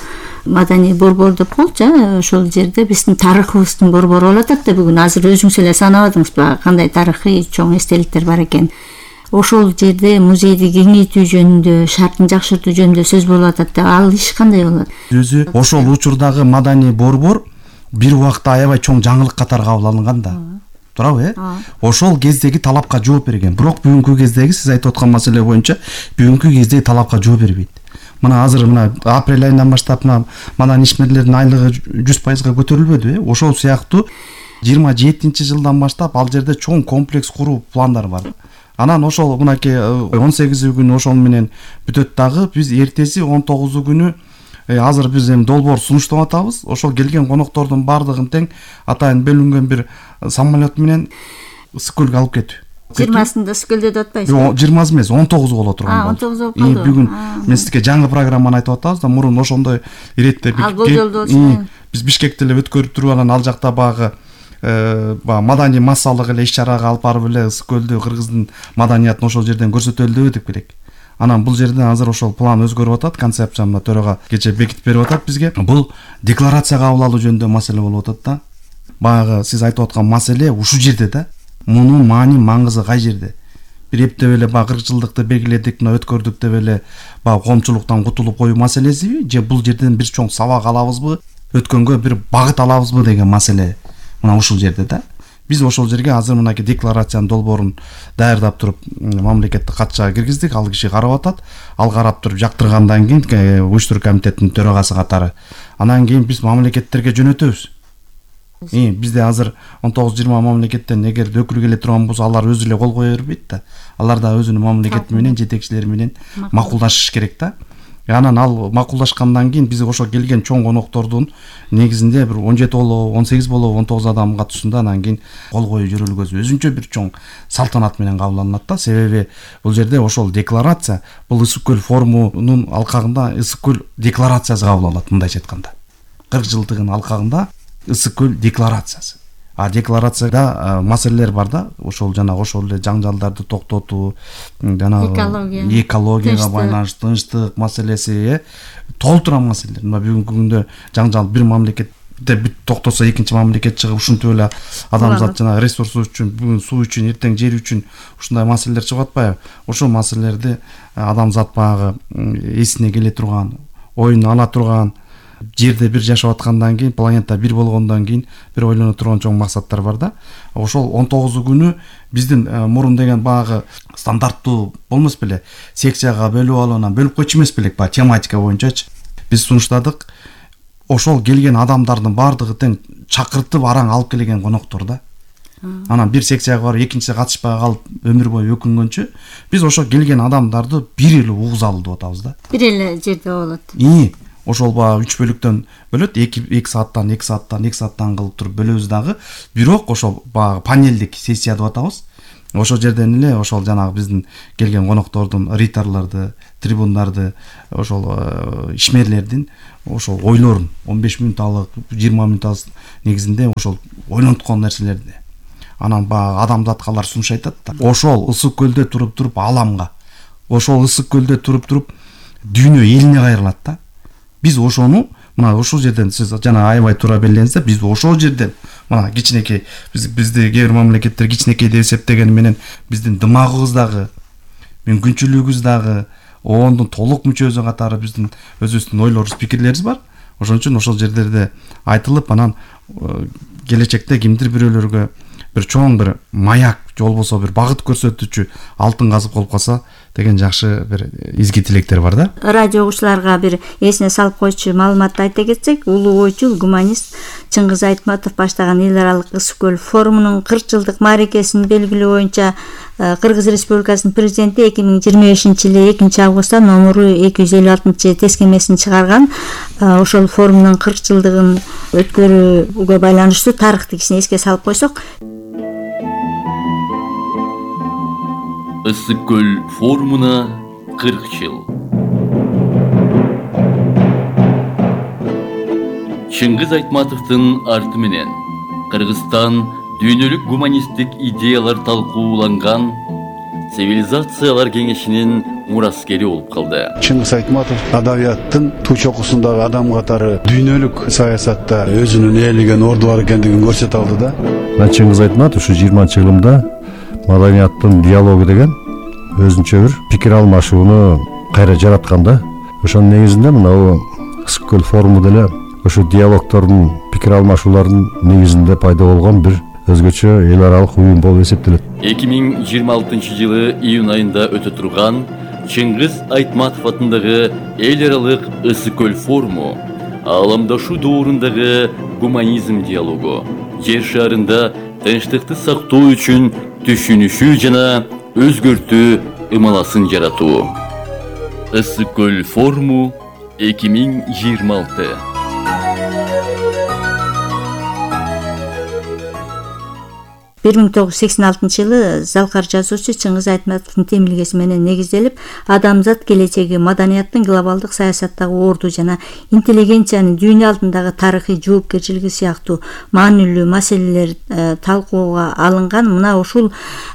маданий борбор деп коелучу, ошол жерде биздин тарыхыбыздын борбору болуп атат да. Бүгүн азыр өзүңүз эле санабадыңыз баягы кандай тарыхый чоң эстеликтер бар экен. Ошол жерде музейди кеңейтүү жөнүндө, шартын жакшыртуу жөнүндө сөз болуп атат да. Ал иш кандай болот? Өзү ошол учурдагы маданий борбор бир убакта аябай чоң жаңылык катары кабыл алынган да. Турабы? Ошол кездеги талапка жооп берген. Бирок бүгүнкү кездеги сиз айтып аткан маселе боюнча бүгүнкү кездеги талапка жооп бербейт. Мына азыр мына апрель айынан баштап маданий ишмерлердин айлыгы 100% көтөрүлбөдү. Ошол сыяктуу 27-жылдан баштап ал жерде чоң комплекс куруу пландары бар. Анан ошол мынакей 18 күнү ошол менен бүтөт дагы. Биз эртеси 19 күнү азыр биз эми долбоор сунуштап атабыз. Ошол келген коноктордун баардыгын тең атайын бөлүнгөн бир самолет менен Ысык-Көлгө алып кетүү. 20-сында Ысык-Көлдө деп атпайсыз? Жок, 20 эмес, 19 боло турган болду. 19 болуп калды. Бүгүн мен сизге жаңы программаны айтып атабыз да, мурун ошондой иретте биз Бишкекте эле өткөрүп туруп, анан ал жакта багы маданий массалык эле иш-чарага алып барып эле Ысык-Көлдү, Кыргыздын маданиятын ошол жерден көрсөтөлү деп керек. Анан бул жерден азыр ошол план өзгөрүп атат, концепцияны төрага кече бекитип берип атат бизге. Бул декларация кабыл алуу жөнүндө маселе болуп атат да. Баягы сиз айтып аткан маселе ушул жерде да. Мунун маани маңызы кай жерде? Бир эптеп эле 40 жылдыкты белгиледик, мына өткөрдүк деп эле коомчулуктан кутулуп коюу маселесиби, же бул жерден бир чоң сабак алабызбы, өткөнгө бир багыт алабызбы деген маселе мына ушул жерде да. Биз ошол жерге азыр мынакей декларациянын долбоорун даярдап туруп мамлекеттик катчыга киргиздик, ал киши карап атат. Ал карап туруп жактыргандан кийин уюштуруу комитетинин төрагасы катары анан кийин биз мамлекеттерге жөнөтөбүз. Бизде азыр 19-20 мамлекеттен эгер өкүл келе турган болсо, алар өзү эле кол кое бербейт да. Алар да өзүнүн мамлекети менен, жетекчилери менен макулдашыш керек да. Анан ал макулдашкандан кийин биз ошо келген чоң коноктордун негизинде бир 17 болобу, 18 болобу, 19 адам катышуусунда анан кийин кол коюу жөрөлгөсү өзүнчө бир чоң салтанат менен кабыл алынат да. Себеби бул жерде ошол декларация, бул Ысык-Көл форумунун алкагында Ысык-Көл декларациясы кабыл алат, мындайча айтканда. 40 жылдыгынын алкагында Ысык-Көл декларациясы. Декларацияда маселелер бар да, ошол жана ошол эле жаңжалдарды токтотуу, жана экологияга байланыштуу тынчтык маселеси, толтурган маселелер. Мына бүгүнкү күндө жаңжал бир мамлекетте бүт токтосо, экинчи мамлекет чыгып ушинтип эле адамзат жана ресурсу үчүн, бүгүн суу үчүн, эртең жер үчүн ушундай маселелер чыгып атпайбы? Ошол маселелерди адамзат баягы эсине келе турган, оюна ала турган, жерде бир жашап аткандан кийин, планета бир болгондон кийин бир ойлоно турган чоң максаттар бар да. Ошол 19 күнү биздин мурун деген багы стандарттуу болмос беле, секцияга бөлүп алып, анан бөлүп койчу эмес белек, баягы тематика боюнчачы. Биз сунуштадык. Ошол келген адамдардын баардыгы тең чакыртып араң алып келген коноктор да. Анан бир секцияга барып, экинчисе катышпай калып өмүр бою өкүнгөнчө, биз ошо келген адамдарды бир эле угузалы деп атабыз да. Бир эле жерде болот. Ошол баягы 3 бөлүктөн бөлөт, 2 сааттан кылып туруп бөлөбүз дагы. Бирок ошол баягы панелдик сессия деп атабыз. Ошол жерден эле ошол жанагы биздин келген коноктордун, риторлорду, трибундарды, ошол ишмерлердин ошол ойлорун 15 мүнөтталык, 20 мүнөтталык негизинде ошол ойлонткон нерселерди анан баягы адамдаткалар сунуш айтат да. Ошол ысык көлдө туруп аламга, ошол ысык көлдө туруп дүйнө элине кайрылат да. Биз ошону мына ошол жерден, сиз жана аябай туура белгилеңиз, биз ошол жерден мына кичинекей бизди кээ бир мамлекеттер кичинекей деп эсептегени менен биздин дымагыбыз дагы, мүмкүнчүлүгүбүз дагы, оондун толук мүчөсү катары биздин өзүбүздүн ойлорубуз, пикирлерибиз бар. Ошон үчүн ошол жерлерде айтылып, анан келечекте кимдир бирөөлөргө бир чоң бир маяк, же болбосо бир багыт көрсөтүүчү алтын казып болуп калса деген жакшы бир изги тилектер бар да. Радио угуучуларга бир эсине салып койчу маалыматты айта кетсек, улуу ойчул гуманист Чыңгыз Айтматов баштаган эл аралык Ысык көл форумунун 40 жылдык мааракесин белгилөө боюнча Кыргыз Республикасынын президенти 2025-жылы 2-августта номуру 256 тескемесин чыгарган. Ошол форумдун 40 жылдыгын өткөрүүгө байланыштуу тарыхтыкисин эске салып койсок. Ысык көл форумуна 40 жыл. Чыңгыз Айтматовдун арты менен Кыргызстан дүйнөлүк гуманисттик идеялар талкууланган цивилизациялар кеңешинин мураскери болуп калды. Чыңгыз Айтматов адабияттын туу чокусундагы адам катары дүйнөлүк саясатта өзүнүн ээлеген орду бар экендигин көрсөтө алды да. Чыңгыз Айтматов ушу 20-жылымда маданияттын диалогу деген өзүнчө бир пикир алмашууну кайра жараткан да. Ошонун негизинде мына Ысык көл форуму деле ошо диалогтордун, пикир алмашуулардын негизинде пайда болгон бир өзгөчө эл аралык уюм болуп эсептелет. 2026-жылы июнь айында өтө турган Чыңгыз Айтматов атындагы эл аралык Ысык көл форуму ааламдашуу доорундагы гуманизм диалогу, жер шарында тынчтыкты сактоо үчүн түшүнүшүү жана өзгөртүү ымаласын жаратуу. Ысык көл форуму 2026. 1986-жылы залкар жазуучу Чыңгыз Айтматовдун темилгеси менен негизделип, адамзат келечеги маданияттын глобалдык саясаттагы орду жана интеллигенциянын дүйнө алдындагы тарыхый жоопкерчилиги сыяктуу маанилүү маселелер талкууга алынган. Мына ушул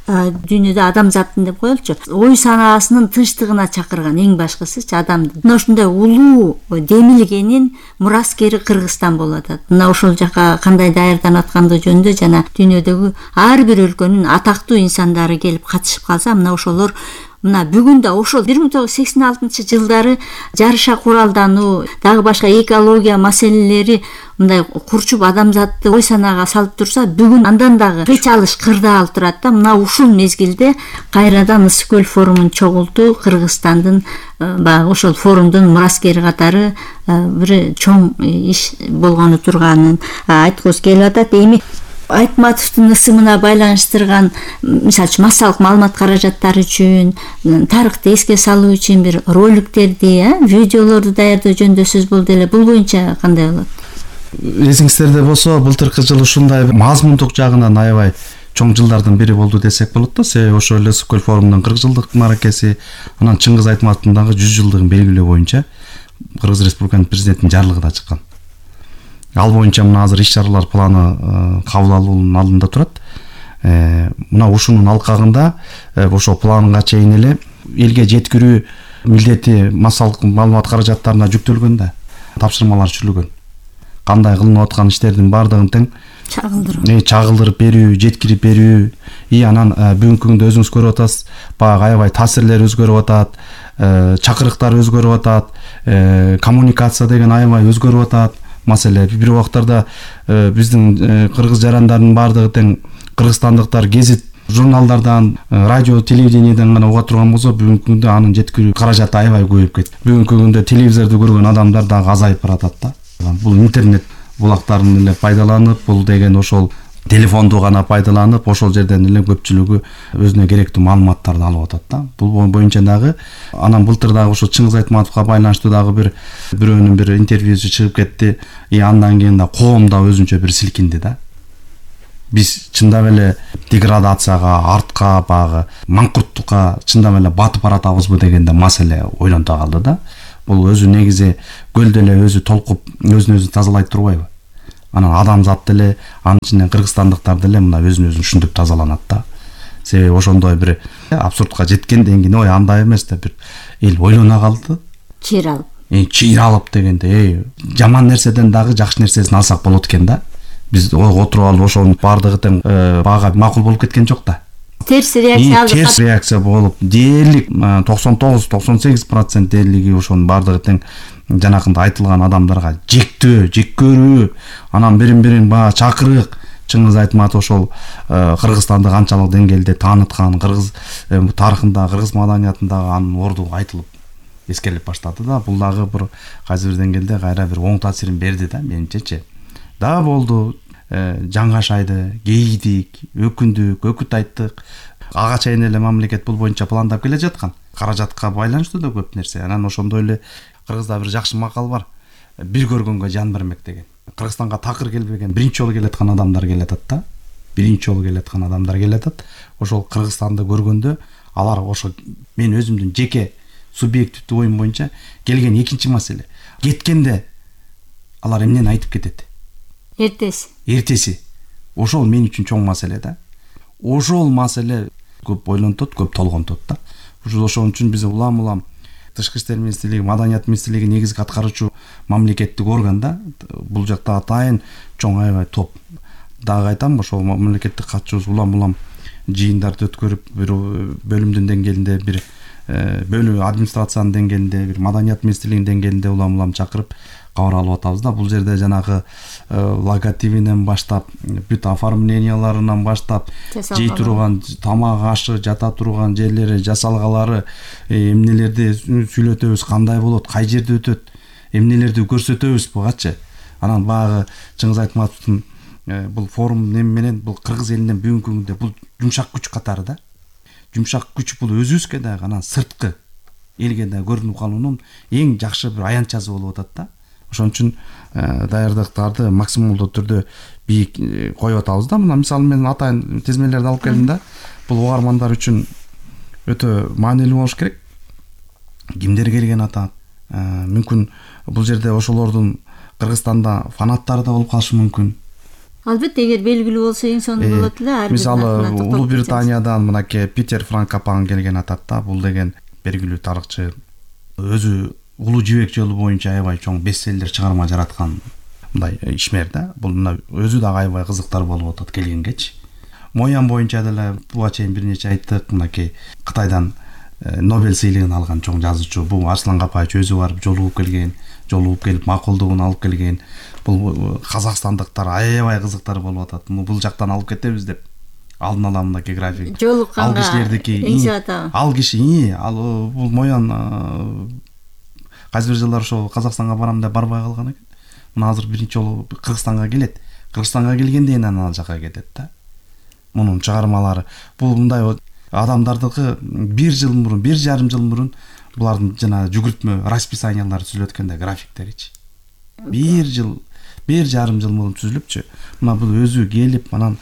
дүйнөдө адамзаттын деп коелучу, ой санаасынын тынчтыгына чакырган эң башкысычы адамды. Мына ушундай улуу демилгенин мураскери Кыргызстан болуп атат. Мына ошол жака кандай даярданып аткандыгы жөнүндө жана дүйнөдөгү ар бир өлкөнүн атактуу инсандары келип катышып калса, мына ошолор мына бүгүн да ошол 1986-жылдары жарыша куралдануу, дагы башка экология маселелери мындай курчуп адамзатты ой санаага салып турса, бүгүн андан дагы кыч алыш кырдаал турат да. Мына ушул мезгилде кайрадан Ысык көл форумун чогултуу Кыргызстандын баягы ошол форумдун мураскери катары бир чоң иш болгону турганын айткыбыз келип атат. Эми Айтматовдун ысымына байланыштырган, мисалы үчүн массалык маалымат каражаттары үчүн, тарыхты эске салуу үчүн бир роликтерди, видеолорду даярдоо жөнүндө сөз болду эле. Бул боюнча кандай болот? Эсиңизде болсо, былтыркы жылы ушундай мазмундук жагынан аябай чоң жылдардын бири болду десек болот да. Себеби ошол эле Ысык көл форумунун 40 жылдык мааракеси, анан Чыңгыз Айтматовдун дагы 100 жылдыгын белгилөө боюнча Кыргыз Республикасынын президентинин жарлыгы да чыккан. Ал боюнча мына азыр иш-чаралар планы кабыл алуунун алдында турат. Мына ушунун алкагында ошол планга чейин эле элге жеткирүү милдети массалык маалымат каражаттарына жүктөлгөн да, тапшырмалар түшүрүлгөн. Кандай кылынып аткан иштердин баардыгын тең чагылдырып берүү, жеткирип берүү. Анан бүгүнкү күндө өзүңүз көрүп атасыз, баягы аябай таасирлер өзгөрүп атат, чакырыктар өзгөрүп атат, коммуникация деген аябай өзгөрүп атат. Маселе бир убактарда биздин кыргыз жарандардын баардыгы тең кыргызстандыктар гезит, журналдардан, радио, телевидениеден гана уга турган болсо, бүгүнкү күндө анын жеткирүү каражаты аябай көбөйүп кетти. Бүгүнкү күндө телевизорду көргөн адамдар дагы азайып баратат да. Бул интернет булактарын эле пайдаланып, бул деген ошол телефонду гана пайдаланып, ошол жерден эле көпчүлүгү өзүнө керектүү маалыматтарды алып атат да. Бул боюнча дагы анан былтыр дагы ошо Чыңгыз Айтматовго байланыштуу дагы бирөөнүн бир интервьюсу чыгып кетти. Андан кийин да коом да өзүнчө бир силкинди да. Биз чындап эле деградацияга, артка, багы маңкурттукка чындап эле батып баратабызбы дегенде маселе ойлонто калды да. Бул өзү негизи көлдө эле өзү толкуп, өзүн тазалай турбайбы? Анан адамзат деле, анын ичинен кыргызстандыктар деле мына өзүн ушинтип тазаланат да. Себеби ошондой бир абсурдка жеткенден кийин, андай эмес да, бир эл ойлоно калды. Чыйралып дегенде, жаман нерседен дагы жакшы нерсесин алсак болот экен да. Биз отуруп алып ошонун баардыгы тең бага макул болуп кеткен жок да. Терс реакция алды. Терс реакция болуп, дээрлик 99-98% дээрлиги ошонун баардыгы тең жанакында айтылган адамдарга жектөө, жек көрүү, анан бирин баа чакырык. Чыңгыз Айтматов ошол Кыргызстанды канчалык деңгээлде тааныткан, кыргыз тарыхында, кыргыз маданиятындагы анын орду айтылып эскерилип баштады да. Бул дагы бир кайсы бир деңгээлде кайра бир оң таасирин берди да, менимчечи. Да болду, жаңгашайды, кейдик, өкүндүк, өкүт айттык. Ага чейин эле мамлекет бул боюнча пландап келе жаткан. Каражатка байланыштуу да көп нерсе. Анан ошондой эле кыргызда бир жакшы макал бар. Бир көргөнгө жан бермек деген. Кыргызстанга такыр келбеген, биринчи жолу келаткан адамдар келатат да. Биринчи жолу келаткан адамдар келатат. Ошол Кыргызстанды көргөндө алар ошо мен өзүмдүн жеке субъективдүү оюм боюнча келген экинчи маселе. Кеткенде алар эмнени айтып кетет? Эртеси. Ошол мен үчүн чоң маселе да. Ошол маселе көп ойлонтот, көп толгонтот да. Ошон үчүн биз улам Тышкы иштер министрлиги, Маданият министрлиги негизги аткаруучу мамлекеттик орган да. Бул жакта атайын чоң аябай топ. Дагы айтам, ошол мамлекеттик катчубуз улам жыйындарды өткөрүп, бир бөлүмдүн деңгээлинде, бир бөлүү администрациянын деңгээлинде, бир Маданият министрлигинин деңгээлинде улам чакырып кабар алып атабыз да. Бул жерде жанагы логотипинен баштап, бүт оформленияларынан баштап, жей турган тамак ашы, жата турган жерлери, жасалгалары, эмнелерди сүйлөтөбүз, кандай болот, кай жерде өтөт, эмнелерди көрсөтөбүз бугачы. Анан багы Чыңгыз Айтматовдун бул форум менен бул кыргыз элинен бүгүнкү күндө бул жумшак күч катары да. Жумшак күч бул өзүбүзгө дагы, анан сырткы элге да көрүнүп калуунун эң жакшы бир аянтчасы болуп атат да. Ошон үчүн даярдыктарды максималдуу түрдө бийик коюп атабыз да. Мына мисалы мен атайын тизмелерди алып келдим да. Бул угармандар үчүн өтө маанилүү болуш керек. Кимдер келген атат? Мүмкүн бул жерде ошолордун Кыргызстанда фанаттары да болуп калышы мүмкүн. Албетте, эгер белгилүү болсо эң сонун болот эле. Мисалы Улуу Британиядан мынакей Питер Франкопан келген атат да. Бул деген белгилүү тарыхчы, өзү Улуу жибек жолу боюнча аябай чоң бестселлер чыгарма жараткан мындай ишмер да. Бул мына өзү дагы аябай кызыктар болуп атат келгенгечи. Моян боюнча деле буга чейин бир нече айттык. Мынакей Кытайдан Нобель сыйлыгын алган чоң жазуучу. Бул Арслан Капаевич өзү барып жолугуп келип макулдугун алып келген. Бул казакстандыктар аябай кызыктар болуп атат. Бул жактан алып кетебиз деп алдын ала мынакей график. Ал кишилердики, ал киши, бул Моян кайсы бир жылдар ошо Казакстанга барам деп барбай калган экен. Мына азыр биринчи жолу Кыргызстанга келет. Кыргызстанга келгенден анан ал жака кетет да. Мунун чыгармалары бул мындай адамдардыкы 1 жыл мурун, 1,5 жыл мурун булардын жана жүгүртмө расписаниялары түзүлөт экен да, графиктеричи. 1,5 жыл мурун түзүлүпчү. Мына бул өзү келип анан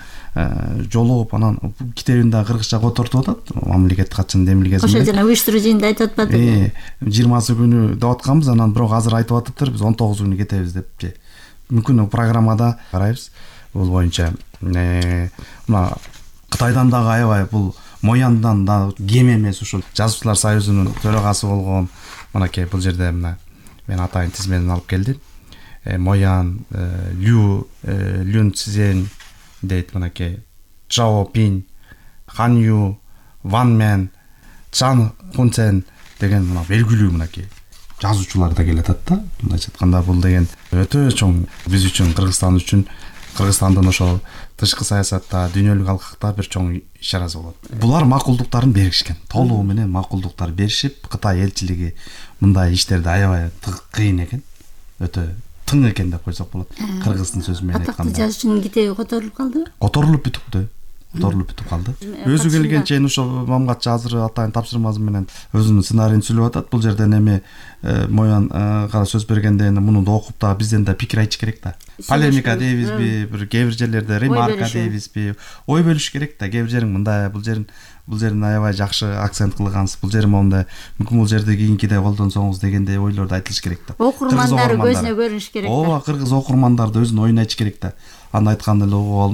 жолугуп анан китебин да кыргызча котортуп атат. Мамлекеттик катчынын демилгесинде. Ошо жана уюштуруу жыйында айтып атпадыбы? 20 күнү деп атканбыз, анан бирок азыр айтып атыптыр, биз 19 күнү кетебиз депчи. Мүмкүн программада карайбыз. Бул боюнча мына Кытайдан дагы аябай бул Мояндан да кем эмес, ушул Жазуучулар союзунун төрагасы болгон мынакей бул жерде мына мен атайын тизмени алып келдим. Моян, Люн Цзен, дейт мынакей Чжао Пинь, Хан Ю, Ван Мен, Чан Хунцен деген мына белгилүү мынакей жазуучулар да келатат да. Мындайча айтканда бул деген өтө чоң биз үчүн, Кыргызстандын ошол тышкы саясатта, дүйнөлүк алкакта бир чоң ишарасы болот. Булар макулдуктарын беришкен. Толугу менен макулдуктар беришип, Кытай элчилиги мындай иштерди аябай кыйын экен. Өтө тың экен деп койсок болот. Кыргыздын сөзү менен айтканда. Атактуу жазуучунун китеби которулуп калдыбы? Которулуп бүтүп калды. Өзү келген чейин ошол Мамгатчы азыр атайын тапшырмасы менен өзүнүн сценарийин сүйлөп атат. Бул жерден эми Моянга сөз бергенде эми муну да окуп да бизден да пикир айтыш керек да. Полемика дейбизби, бир кээ бир жерлерде ремарка дейбизби, ой бөлүш керек да. Кээ бир жерин мындай, бул жерин аябай жакшы акцент кылгансыз, бул жерин мондай, мүмкүн бул жерде кийинкиде колдонсоңуз дегендей ойлорду айтылыш керек да. Окурмандары көзүнө көрүнүш керек да. Ооба, кыргыз окурмандары да өзүнүн оюн айтыш керек да. Аны айтканда эле угуп